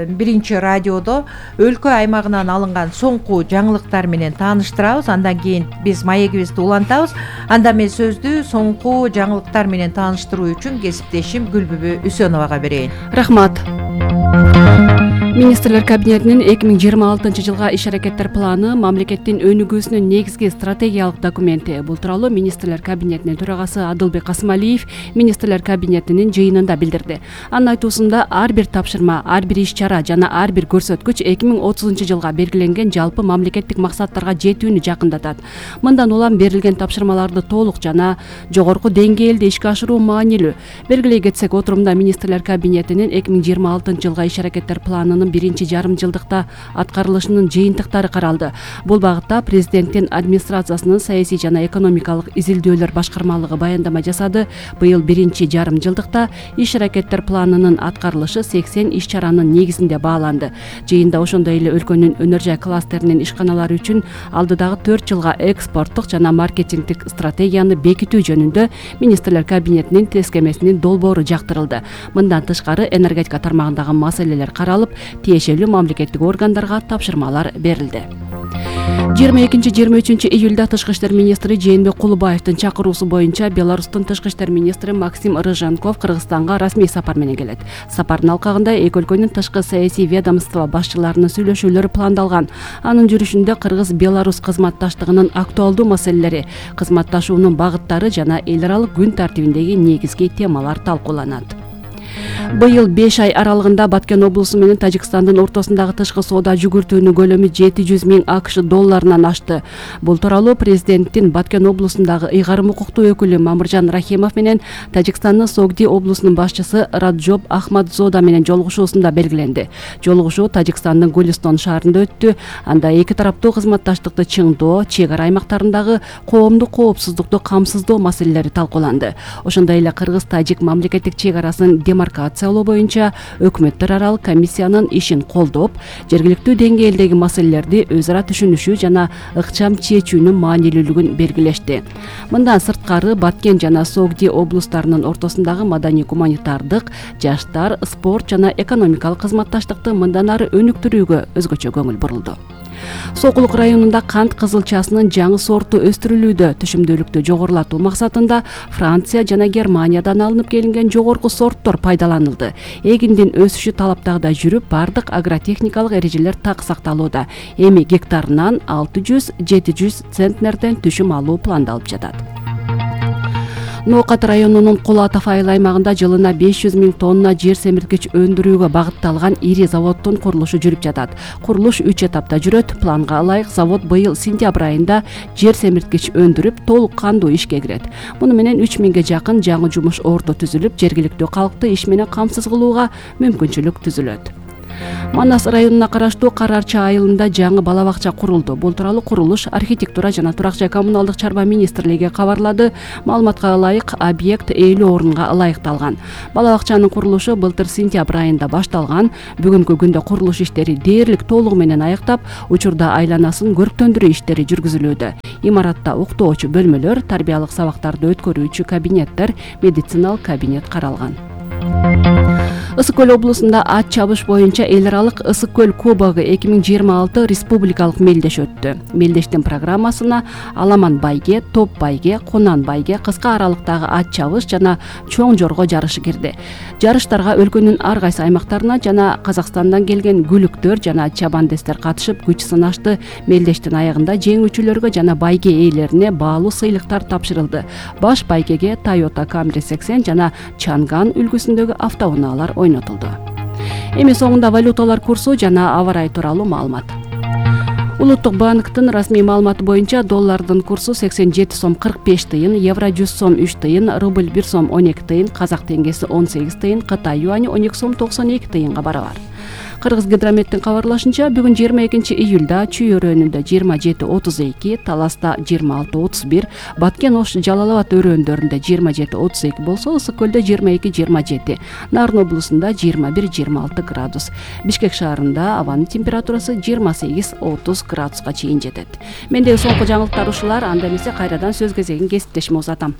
биринчи радиодо өлкө аймагынан алынган соңку жаңылыктар менен тааныштырабыз. Андан кийин биз маегибизди улантабыз. Анда мен сөздү соңку жаңылыктар менен тааныштыруу үчүн кесиптешим Гүлбүбү Үсөновага берейин. Рахмат. Министрлер кабинетинин 2026 жылга иш-аракеттер планы мамлекеттин өнүгүүсүнүн негизги стратегиялык документи. Бул тууралуу Министрлер кабинетинин төрагасы Адылбек Касымалиев Министрлер кабинетинин жыйынында билдирди. Анын айтуусунда ар бир тапшырма, ар бир иш-чара жана ар бир көрсөткүч 2030 жылга белгиленген жалпы мамлекеттик максаттарга жетүүнү жакындатат. Мындан улам берилген тапшырмаларды толук жана жогорку деңгээлде ишке ашыруу маанилүү. Белгилей кетсек, отурумда Министрлер кабинетинин 2026 жылга иш-аракеттер планынын биринчи жарым жылдыкта аткарылышынын жыйынтыктары каралды. Бул багытта президенттин администрациясынын саясий жана экономикалык изилдөөлөр башкармалыгы баяндама жасады. Быйыл биринчи жарым жылдыкта иш-аракеттер планынын аткарылышы 80 иш-чаранын негизинде бааланды. Жыйында ошондой эле өлкөнүн өнөр жай кластеринин ишканалары үчүн алдыдагы 4 жылга экспорттук жана маркетингдик стратегияны бекитүү жөнүндө Министрлер кабинетинин тескемесинин долбоору жактырылды. Мындан тышкары энергетика тармагындагы маселелер каралып, тиешелүү мамлекеттик органдарга тапшырмалар берилди. 22-23 июлда Тышкы иштер министри Жээнбек Кулубаевдин чакыруусу боюнча Беларустун тышкы иштер министри Максим Рыженков Кыргызстанга расмий сапар менен келет. Сапардын алкагында эки өлкөнүн тышкы саясий ведомство башчыларынын сүйлөшүүлөрү пландалган. Анын жүрүшүндө Кыргыз-Беларус кызматташтыгынын актуалдуу маселелери, кызматташуунун багыттары жана эл аралык күн тартибиндеги негизги темалар талкууланат. Быйыл 5 ай аралыгында Баткен облусу менен Тажикстандын ортосундагы тышкы соода жүгүртүүнүн көлөмү 700 000 АКШ долларынан ашты. Бул тууралуу президенттин Баткен облусундагы ыйгарым укуктуу өкүлү Мамыржан Рахимов менен Тажикстандын Согди облусунун башчысы Раджоб Ахмадзода менен жолугушуусунда белгиленди. Жолугушуу Тажикстандын Гулистон шаарында өттү. Анда эки тараптуу кызматташтыкты чыңдоо, чек ара аймактарындагы коомдук коопсуздукту камсыздоо маселелери талкууланды. Ошондой эле Кыргыз-Тажик мамлекеттик чек арасын демаркациялоо боюнча өкмөттөр аралык комиссиянын ишин колдоп, жергиликтүү деңгээлдеги маселелерди өз ара түшүнүшүү жана ыкчам чечүүнүн маанилүүлүгүн белгилешти. Мындан сырткары Баткен жана Согди облустарынын ортосундагы маданий-гуманитардык, жаштар, спорт жана экономикалык кызматташтыкты мындан ары өнүктүрүүгө өзгөчө көңүл бурулду. Сокулук районунда кант кызылчасынын жаңы сорту өстүрүлүүдө. Түшүмдүүлүктү жогорулатуу максатында Франция жана Германиядан алынып келинген жогорку сорттор пайдаланылды. Эгиндин өсүшү талаптагыдай жүрүп, бардык агротехникалык эрежелер так сакталууда. Эми гектарынан 600-700 центнерден түшүм алуу пландалып жатат. Ноокат районунун Кул Атов айыл аймагында жылына 500 000 тонна жер семирткич өндүрүүгө багытталган ири заводдун курулушу жүрүп жатат. Курулуш 3 этапта жүрөт. Планга ылайык завод быйыл сентябрь айында жер семирткич өндүрүп, толук кандуу ишке кирет. Муну менен 3000ге жакын жаңы жумуш орду түзүлүп, жергиликтүү калкты иш менен камсыз кылууга мүмкүнчүлүк түзүлөт. Манас районуна караштуу Карарча айылында жаңы бала бакча курулду. Бул тууралуу курулуш архитектура жана турак жай коммуналдык чарба министрлиги кабарлады. Маалыматка ылайык, объект 50 орунга ылайыкталган. Бала бакчанын курулушу былтыр сентябрь айында башталган. Бүгүнкү күндө курулуш иштери дээрлик толугу менен аяктап, учурда айланасын көрктөндүрүү иштери жүргүзүлүүдө. Имаратта уктоочу бөлмөлөр, тарбиялык сабактарды өткөрүүчү кабинеттер, медициналык кабинет каралган. Ысык Көл облусунда ат чабыш боюнча эл аралык Ысык Көл кубогу 2026 республикалык мелдеш өттү. Мелдештин программасына Аламан байге, Топ байге, Кунан байге кыска аралыктагы ат чабыш жана чоң жорго жарышы кирди. Жарыштарга өлкөнүн ар кайсы аймактарына жана Казакстандан келген күлүктөр жана чабандестер катышып күч сынашты. Мелдештин аягында жеңүүчүлөргө жана байге ээлерине баалуу сыйлыктар тапшырылды. Баш байгеге Toyota Camry 80 жана Чанган үлгүсүндөгү автоунаалар ойнотулду. Эми соңунда валюталар курсу жана аба ырайы тууралуу маалымат. Улуттук банктын расмий маалыматы боюнча доллардын курсу 87 сом 45 тыйын, евро 100 сом 3 тыйын, рубль 1 сом 12 тыйын, казак теңгеси 18 тыйын, Кытай юани 12 сом 92 тыйынга барабар. Кыргыз гидрометтин кабарлашынча, бүгүн 22 июлда Чүй өрөөнүндө 27-32, Таласта 26-31, Баткен Ош Жалал Абад өрөөндөрүндө 27-32 болсо, Ысык Көлдө 22-27, Нарын облусунда 21-26 градус. Бишкек шаарында абанын температурасы 28-30 градуска чейин жетет. Мендеги соңку жаңылыктар ушулар, анда эмесе кайрадан сөз кезегин кесиптешиме узатам.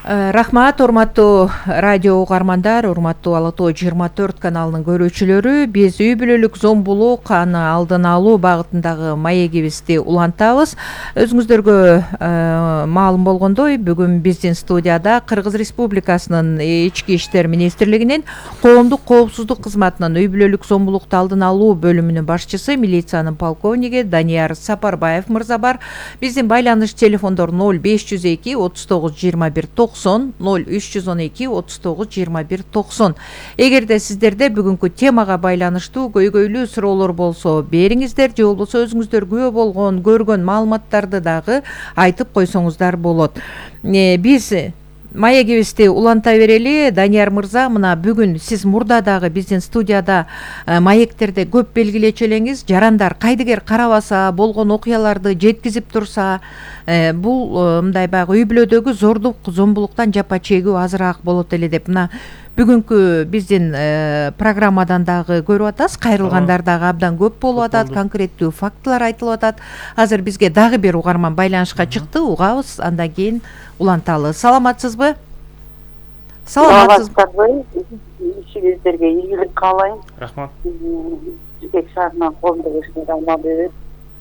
Рахмат, урматтуу радио угармандар, урматтуу Ала Тоо 24 каналынын көрүүчүлөрү. Биз үй бүлөлүк зомбулук аны алдын алуу багытындагы маегибизди улантабыз. Өзүңүздөргө маалым болгондой, бүгүн биздин студияда Кыргыз Республикасынын Ички иштер министрлигинин коомдук коопсуздук кызматынын үй бүлөлүк зомбулукту алдын алуу бөлүмүнүн башчысы, милициянын полковниги Данияр Сапарбаев мырза бар. Биздин байланыш телефондору 0502 39 21 90, 0312 39 21 90. Эгерде сиздерде бүгүнкү темага байланыштуу көйгөйлүү суроолор болсо бериңиздер, же болбосо өзүңүздөр күбө болгон, көргөн маалыматтарды дагы айтып койсоңуздар болот. Биз маегибизди уланта берели. Данияр мырза, мына бүгүн сиз мурда дагы биздин студияда маектерде көп белгилечү элеңиз. Жарандар кайдыгер карабаса, болгон окуяларды жеткизип турса, бул мындай баягы үй бүлөдөгү зордук, зомбулуктан жапа чегүү азыраак болот эле деп мына бүгүнкү биздин программадан дагы көрүп атасыз. Кайрылгандар дагы абдан көп болуп атат, конкреттүү фактылар айтылып атат. Азыр бизге дагы бир угарман байланышка чыкты, угабыз, андан кийин уланталы. Саламатсызбы? Саламатсызбы? Ишиңиздерге ийгилик каалайм. Рахмат. Бишкек шаарынан коомдук ишмер Алмабек.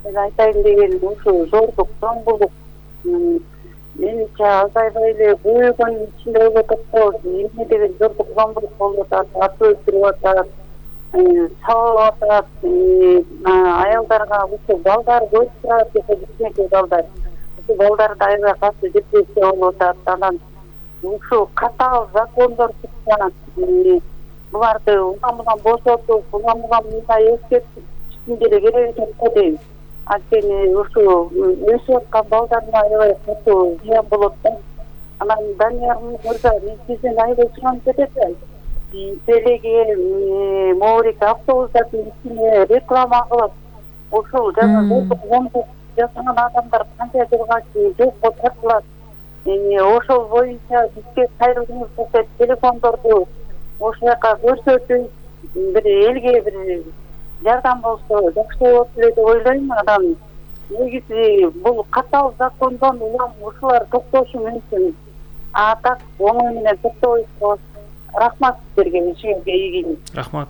Мен айтайын дегеним ушу зордук, зомбулук менимче азайбай эле көбөйгөнүн ичинде болуп атат го. Эмне деген зордук, зомбулук болуп атат, ат өлтүрүп атат, сабап атат, аялдарга ушу балдар көп турат, кичинекей балдар. Ушу балдарды аябай катуу депрессия болуп атат. Анан ушу катаал закондор чыкса, буларды улам-улам бошотуп, улам-улам мындай эскертиштин деле кереги жок го дейм. Анткени ушу өсүп аткан балдарына аябай катуу зыян болот да. Анан Данияр мырза, мен сизден аябай суранып кетет. Телеге, Моорик автобустардын ичине реклама кылып, ушул жана зомбулук жасаган адамдар канча жылга чейин жокко тартылат. Ошол боюнча бизге кайрылгыңыз келсе, телефондорду ошол жака көрсөтүп, бир элге бир жардам болсо жакшы болот эле деп ойлойм. Анан негизи бул катаал закондон улам ушулар токтошу мүмкүн. Так оңой менен токтойбуз. Рахмат сиздерге, ишиңизге ийгилик. Рахмат.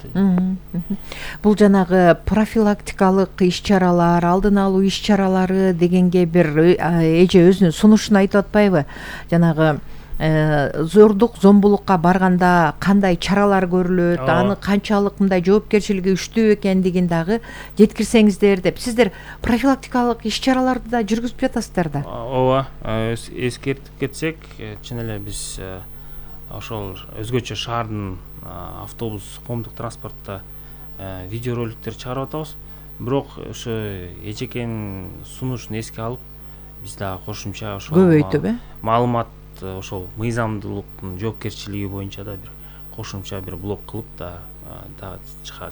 Бул жанагы профилактикалык иш-чаралар, алдын алуу иш-чаралары дегенге бир эже өзүнүн сунушун айтып атпайбы? Жанагы зордук зомбулукка барганда кандай чаралар көрүлөт, аны канчалык мындай жоопкерчилиги күчтүү экендигин дагы жеткирсеңиздер деп. Сиздер профилактикалык иш-чараларды да жүргүзүп жатасыздар да. Ооба, эскертип кетсек, чын эле биз ошол өзгөчө шаардын автобус, коомдук транспортто видеороликтер чыгарып атабыз. Бирок ошо эжекенин сунушун эске алып, биз дагы кошумча ошол көбөйтүп, маалымат ошол мыйзамдуулуктун жоопкерчилиги боюнча да бир кошумча бир блок кылып да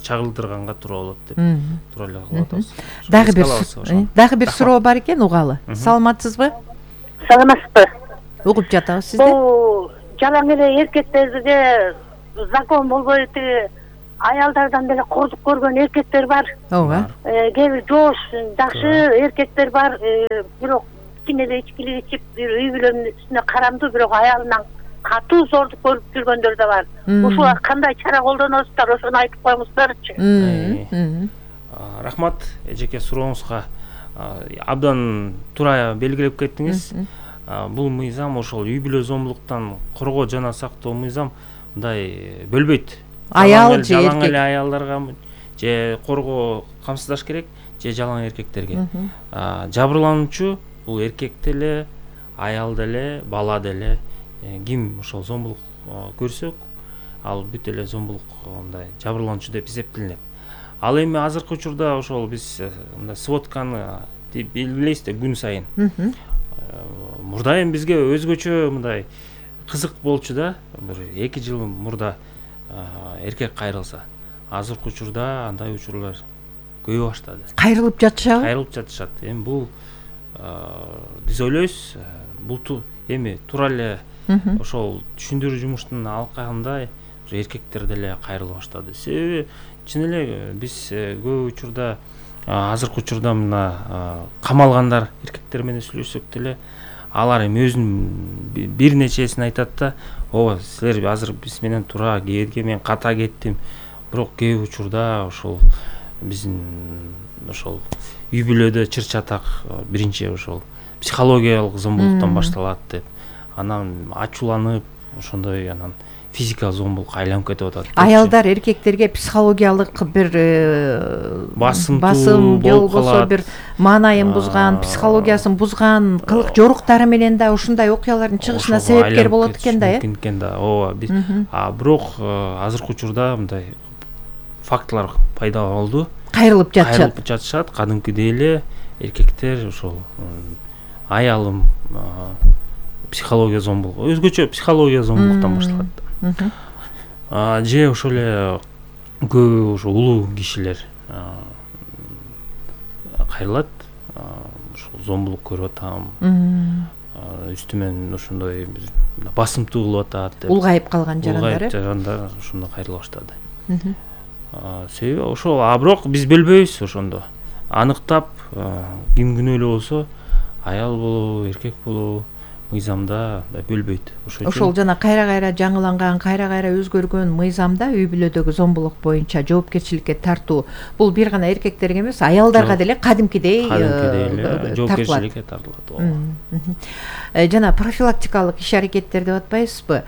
чагылдырганга туура болот деп туура эле кылып атабыз. Дагы бир суроо бар экен, угалы. Саламатсызбы? Саламатсызбы? Угуп жатабыз сизди. Бул жалаң эле эркектерге закон болбой аялдардан деле кордук көргөн эркектер бар. Ооба. Кээ бир жоош, жакшы эркектер бар. Бирок кичине эле ичкилик ичип, бир үй бүлөнүн үстүнө карамдуу, бирок аялынан катуу зордук көрүп жүргөндөр да бар. Ушуга кандай чара колдоносуздар, ошону айтып коюңуздарчы. Рахмат эжеке сурооңузга. Абдан туура белгилеп кеттиңиз. Бул мыйзам ошол үй бүлө зомбулуктан коргоо жана сактоо мыйзам мындай бөлбөйт. Аял же жалаң эле аялдарга же коргоо камсыздаш керек, же жалаң эркектерге. Жабырлануучу бул эркек деле, аял деле, бала деле, ким ошол зомбулук көрсөк, ал бүт эле зомбулук мындай жабырлануучу деп эсептелинет. Ал эми азыркы учурда ошол биз мындай сводканы белгилейбиз да күн сайын. Мурда эми бизге өзгөчө мындай кызык болчу да, бир 2 жыл мурда эркек кайрылса. Азыркы учурда андай учурлар көбөйө баштады. Кайрылып жатышабы? Кайрылып жатышат. Эми бул биз ойлойбуз, бул эми туура эле ошол түшүндүрүү жумуштун алкагында эркектер деле кайрыла баштады. Себеби чын эле биз көп учурда азыркы учурда мына камалгандар эркектер менен сүйлөшсөк деле, алар эми өзүнүн бир нечесин айтат да, ооба силер азыр биз менен туура кээдге мен ката кеттим. Бирок кээ учурда ошол биздин ошол үй бүлөдө чыр-чатак биринчи ошол психологиялык зомбулуктан башталат деп, анан ачууланып, ошондой анан физикалык зомбулукка айланып кетип атат. Аялдар эркектерге психологиялык бир басым же болбосо бир маанайын бузган, психологиясын бузган кылык жоруктары менен да ушундай окуялардын чыгышына себепкер болот экен да, мүмкүн экен да. Ооба. Бирок азыркы учурда мындай фактылар пайда болду. Кайрылып жатышат. Кадимкидей эле эркектер ошол аялым психология зомбулугу, өзгөчө психология зомбулуктан башталат. Же ошол эле көп ошо улуу кишилер кайрылат. Ошол зомбулук көрүп атам. Үстүмөн ошондой басымтуу кылып атат деп. Улгайып калган жарандар. Улгайып жарандар ошондо кайрыла баштады. Себеби ошол, бирок биз бөлбөйбүз ошондо. Аныктап, ким күнөөлүү болсо, аял болобу, эркек болобу, мыйзамда бөлбөйт. Ошол жана кайра-кайра жаңыланган, кайра-кайра өзгөргөн мыйзамда үй бүлөдөгү зомбулук боюнча жоопкерчиликке тартуу бул бир гана эркектерге эмес, аялдарга деле кадимкидей жоопкерчиликке тартылат. Жана профилактикалык иш-аракеттер деп атпайсызбы?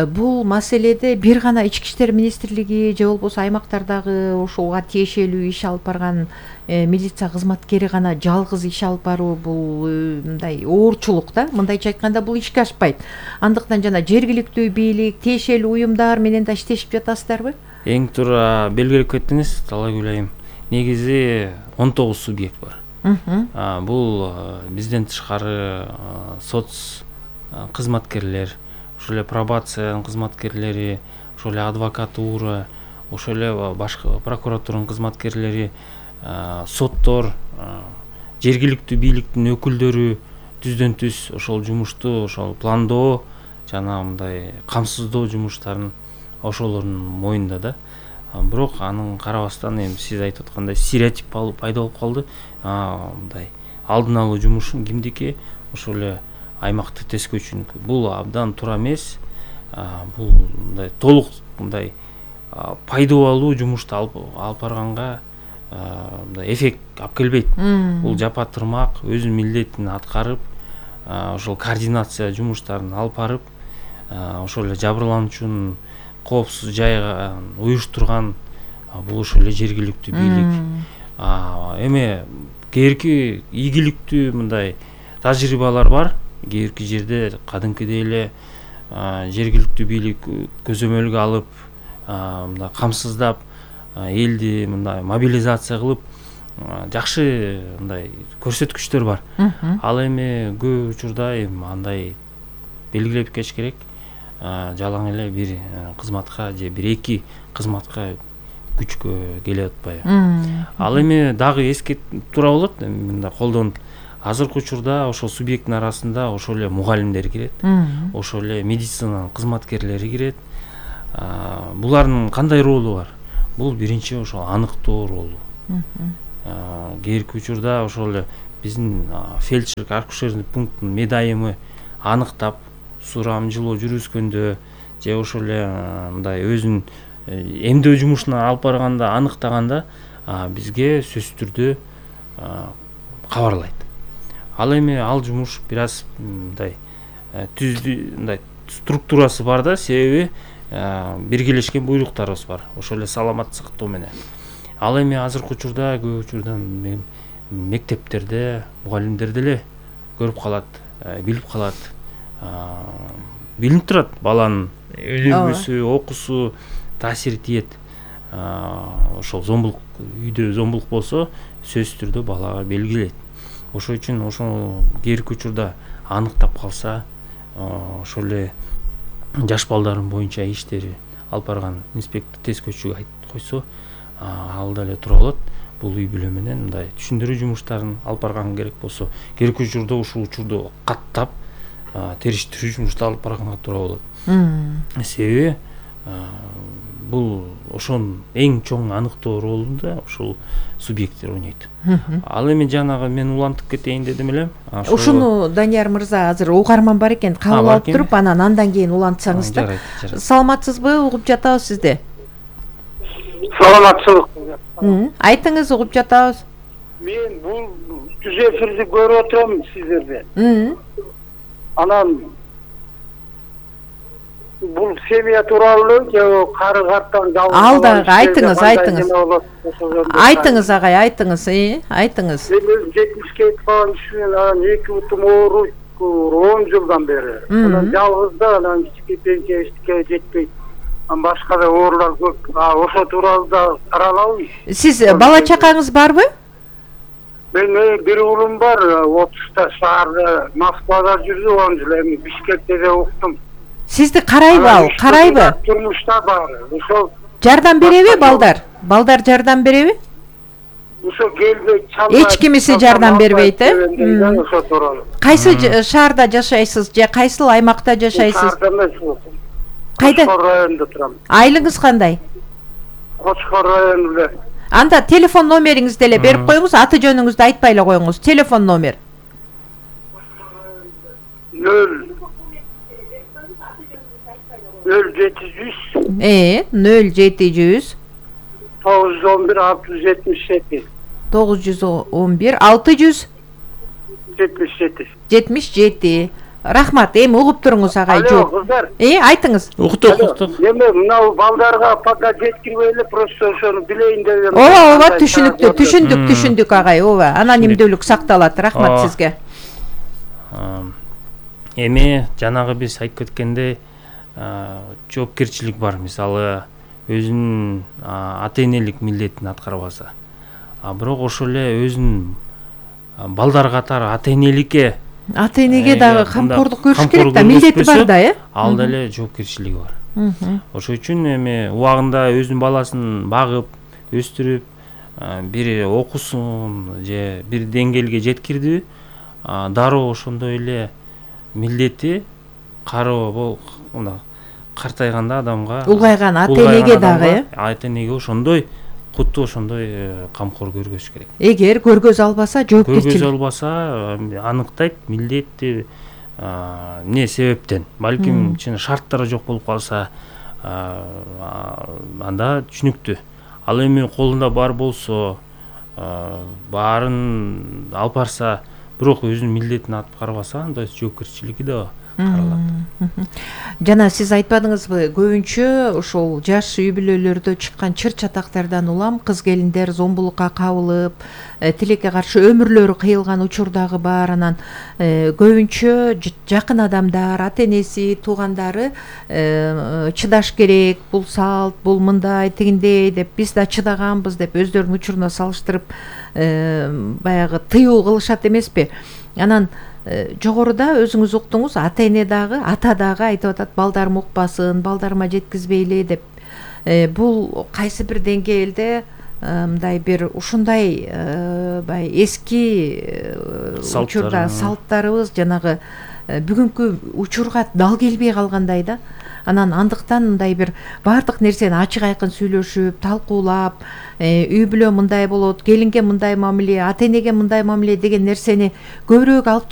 Бул маселеде бир гана Ички иштер министрлиги же болбосо аймактардагы ошого тиешелүү иш алып барган милиция кызматкери гана жалгыз иш алып баруу бул мындай оорчулук да. Мындайча айтканда бул ишке ашпайт. Андыктан жана жергиликтүү бийлик, тиешелүү уюмдар менен да иштешип жатасыздарбы? Эң туура белгилеп кеттиңиз, Талайгүл айым. Негизи 19 субъект бар. Бул бизден тышкары соц кызматкерлер, ошол эле пробация кызматкерлери, ошол эле адвокатура, ошол эле башка прокуратуранын кызматкерлери, соттор, жергиликтүү бийликтин өкүлдөрү түздөн түз ошол жумушту ошол пландоо жана мындай камсыздоо жумуштарын ошолордун моюнда да. Бирок анын карабастан эми сиз айтып аткандай стереотип пайда болуп калды. Мындай алдын алуу жумушун кимдики? Ошол эле аймактык тескөөчүнүкү. Бул абдан туура эмес. Бул мындай толук мындай пайдалуу алуу жумушту алып барганга мындай эффект алып келбейт. Бул жапа тырмак өзүнүн милдетин аткарып, ошол координация жумуштарын алып барып, ошол эле жабырлануучунун коопсуз жайга уюштурган бул ошол эле жергиликтүү бийлик. Эми кээки ийгиликтүү мындай тажрыйбалар бар. Кээки жерде кадимкидей эле жергиликтүү бийлик көзөмөлгө алып, мындай камсыздап, элди мындай мобилизация кылып, жакшы мындай көрсөткүчтөр бар. Ал эми көп учурда андай белгилеп кеш керек. Жалаң эле бир кызматка же бир эки кызматка күчкө келип атпайбы. Ал эми дагы эскертип тура болот. Мындай колдонуп азыркы учурда ошол субъекттин арасында ошол эле мугалимдер кирет, ошол эле медицинанын кызматкерлери кирет. Булардын кандай ролу бар? Бул биринчи ошол аныктоо ролу. Кээки учурда ошол эле биздин фельдшер акушерный пункттун медайымы аныктап, сурамжылоо жүргүзгөндө же ошол эле мындай өзүнүн эмдөө жумушуна алып барганда, аныктаганда бизге сөзсүз түрдө кабарлайт. Ал эми ал жумуш бир аз мындай мындай структурасы бар да, себеби биргелешкен буйруктарыбыз бар. Ошол эле саламат сактоо менен. Ал эми азыркы учурда көп учурда мектептерде мугалимдер деле көрүп калат, билип калат. Билинип турат баланын өнүгүүсү, окуусу таасир тиет. Ошол зомбулук, үйдө зомбулук болсо сөзсүз түрдө балага белгилейт. Ошол үчүн ошол кээки учурда аныктап калса, ошол эле жаш балдардын боюнча иштери алып барган инспектор тез көчүгө айтып койсо, ал деле тура болот. Бул үй бүлө менен мындай түшүндүрүү жумуштарын алып барган керек болсо, кээки учурда ушул учурду каттап териштирүү жумуштарын алып барганга туура болот. Себеби бул ошонун эң чоң аныктоо ролунда ошол субъекттер ойнойт. Ал эми жанагы мен улантып кетейин дедим эле. Ушуну Данияр мырза азыр угарман бар экен, кабыл алып туруп, анан андан кийин улантсаңыз да. Саламатсызбы? Угуп жатабыз сизди. Саламатсызбы? Айтыңыз, угуп жатабыз. Мен бул түз эфирди көрүп отурам сиздерде. Анан бул семья тууралуу же кары карттан жалгыз алдагы айтыңыз. Айтыңыз агай, айтыңыз, айтыңыз. Мен 70-ке жеткен кишинен анан 2 бутум ооруйт 10 жылдан бери. Анан жалгыз да, анан кичике пенсия эчтеке жетпейт. Башка да оорулар көп. Ошо тууралуу да каралабы? Сиз бала чакаңыз барбы? Мен бир уулум бар, 30-та шаарда Москвада жүрдү 10 жыл, эми Бишкекте да уктум. Сизди карайбы ал? Карайбы? Турмушта бар. Ошол жардам береби балдар? Балдар жардам береби? Ошо келбейт, Эч кимиси жардам бербейт, ошо тууралуу. Кайсы шаарда жашайсыз же кайсыл аймакта жашайсыз? Кайда? Кочкор районунда турам. Айлыгыңыз кандай? Кочкор районунда. Анда телефон номериңизди деле берип коюңуз, аты жөнүңүздү айтпай эле коюңуз. Телефон номер. 0700 0700 911 677 911 677. Рахмат, эми угуп туруңуз агай. Алло, кыздар. Айтыңыз. Уктук. Эме мынау балдарга пока жеткирбей эле просто ошону билейин деп. Ооба, түшүндүк агай, ооба. Анонимдүүлүк сакталат. Рахмат сизге. Эми жанагы биз айтып кеткендей, жоопкерчилик бар. Мисалы, өзүнүн ата-энелик милдетин аткарбаса. Бирок ошол эле өзүнүн балдар катары ата-энеликке дагы камкордук көрүш керек да, милдети бар да, ал деле жоопкерчилиги бар. Ошол үчүн эми убагында өзүнүн баласын багып, өстүрүп, бир окуусун же бир деңгээлге жеткирди, дароо ошондой эле милдети кароо картайганда адамга, улгайган ата-энеге дагы, ата-энеге ошондой кутту, ошондой камкор көргөзүш керек. Эгер көргөзө албаса, жоопкерчилик. Көргөзө албаса, аныктайт милдетти эмне себептен. Балким чын шарттары жок болуп калса, анда түшүнүктүү. Ал эми колунда бар болсо, баарын алып барса, бирок өзүнүн милдетин аткарбаса, анда жоопкерчилиги да каралат. Жана сиз айтпадыңызбы, көбүнчө ошол жаш үй бүлөлөрдө чыккан чыр чатактардан улам кыз келиндер зомбулукка кабылып, тилекке каршы өмүрлөрү кыйылган учур дагы бар. Анан көбүнчө жакын адамдар, ата энеси, туугандары чыдаш керек, бул салт, бул мындай, тигиндей деп, биз да чыдаганбыз деп өздөрүнүн учуруна салыштырып баягы тыюу кылышат эмеспи? Анан жогоруда өзүңүз уктуңуз, ата эне дагы, ата дагы айтып атат, балдарым укпасын, балдарыма жеткизбейли деп. Бул кайсы бир деңгээлде мындай бир ушундай эски учурда салттарыбыз жанагы бүгүнкү учурга дал келбей калгандай да. Анан андыктан мындай бир баардык нерсени ачык айкын сүйлөшүп, талкуулап, үй бүлө мындай болот, келинге мындай мамиле, ата энеге мындай мамиле деген нерсени көбүрөөк алып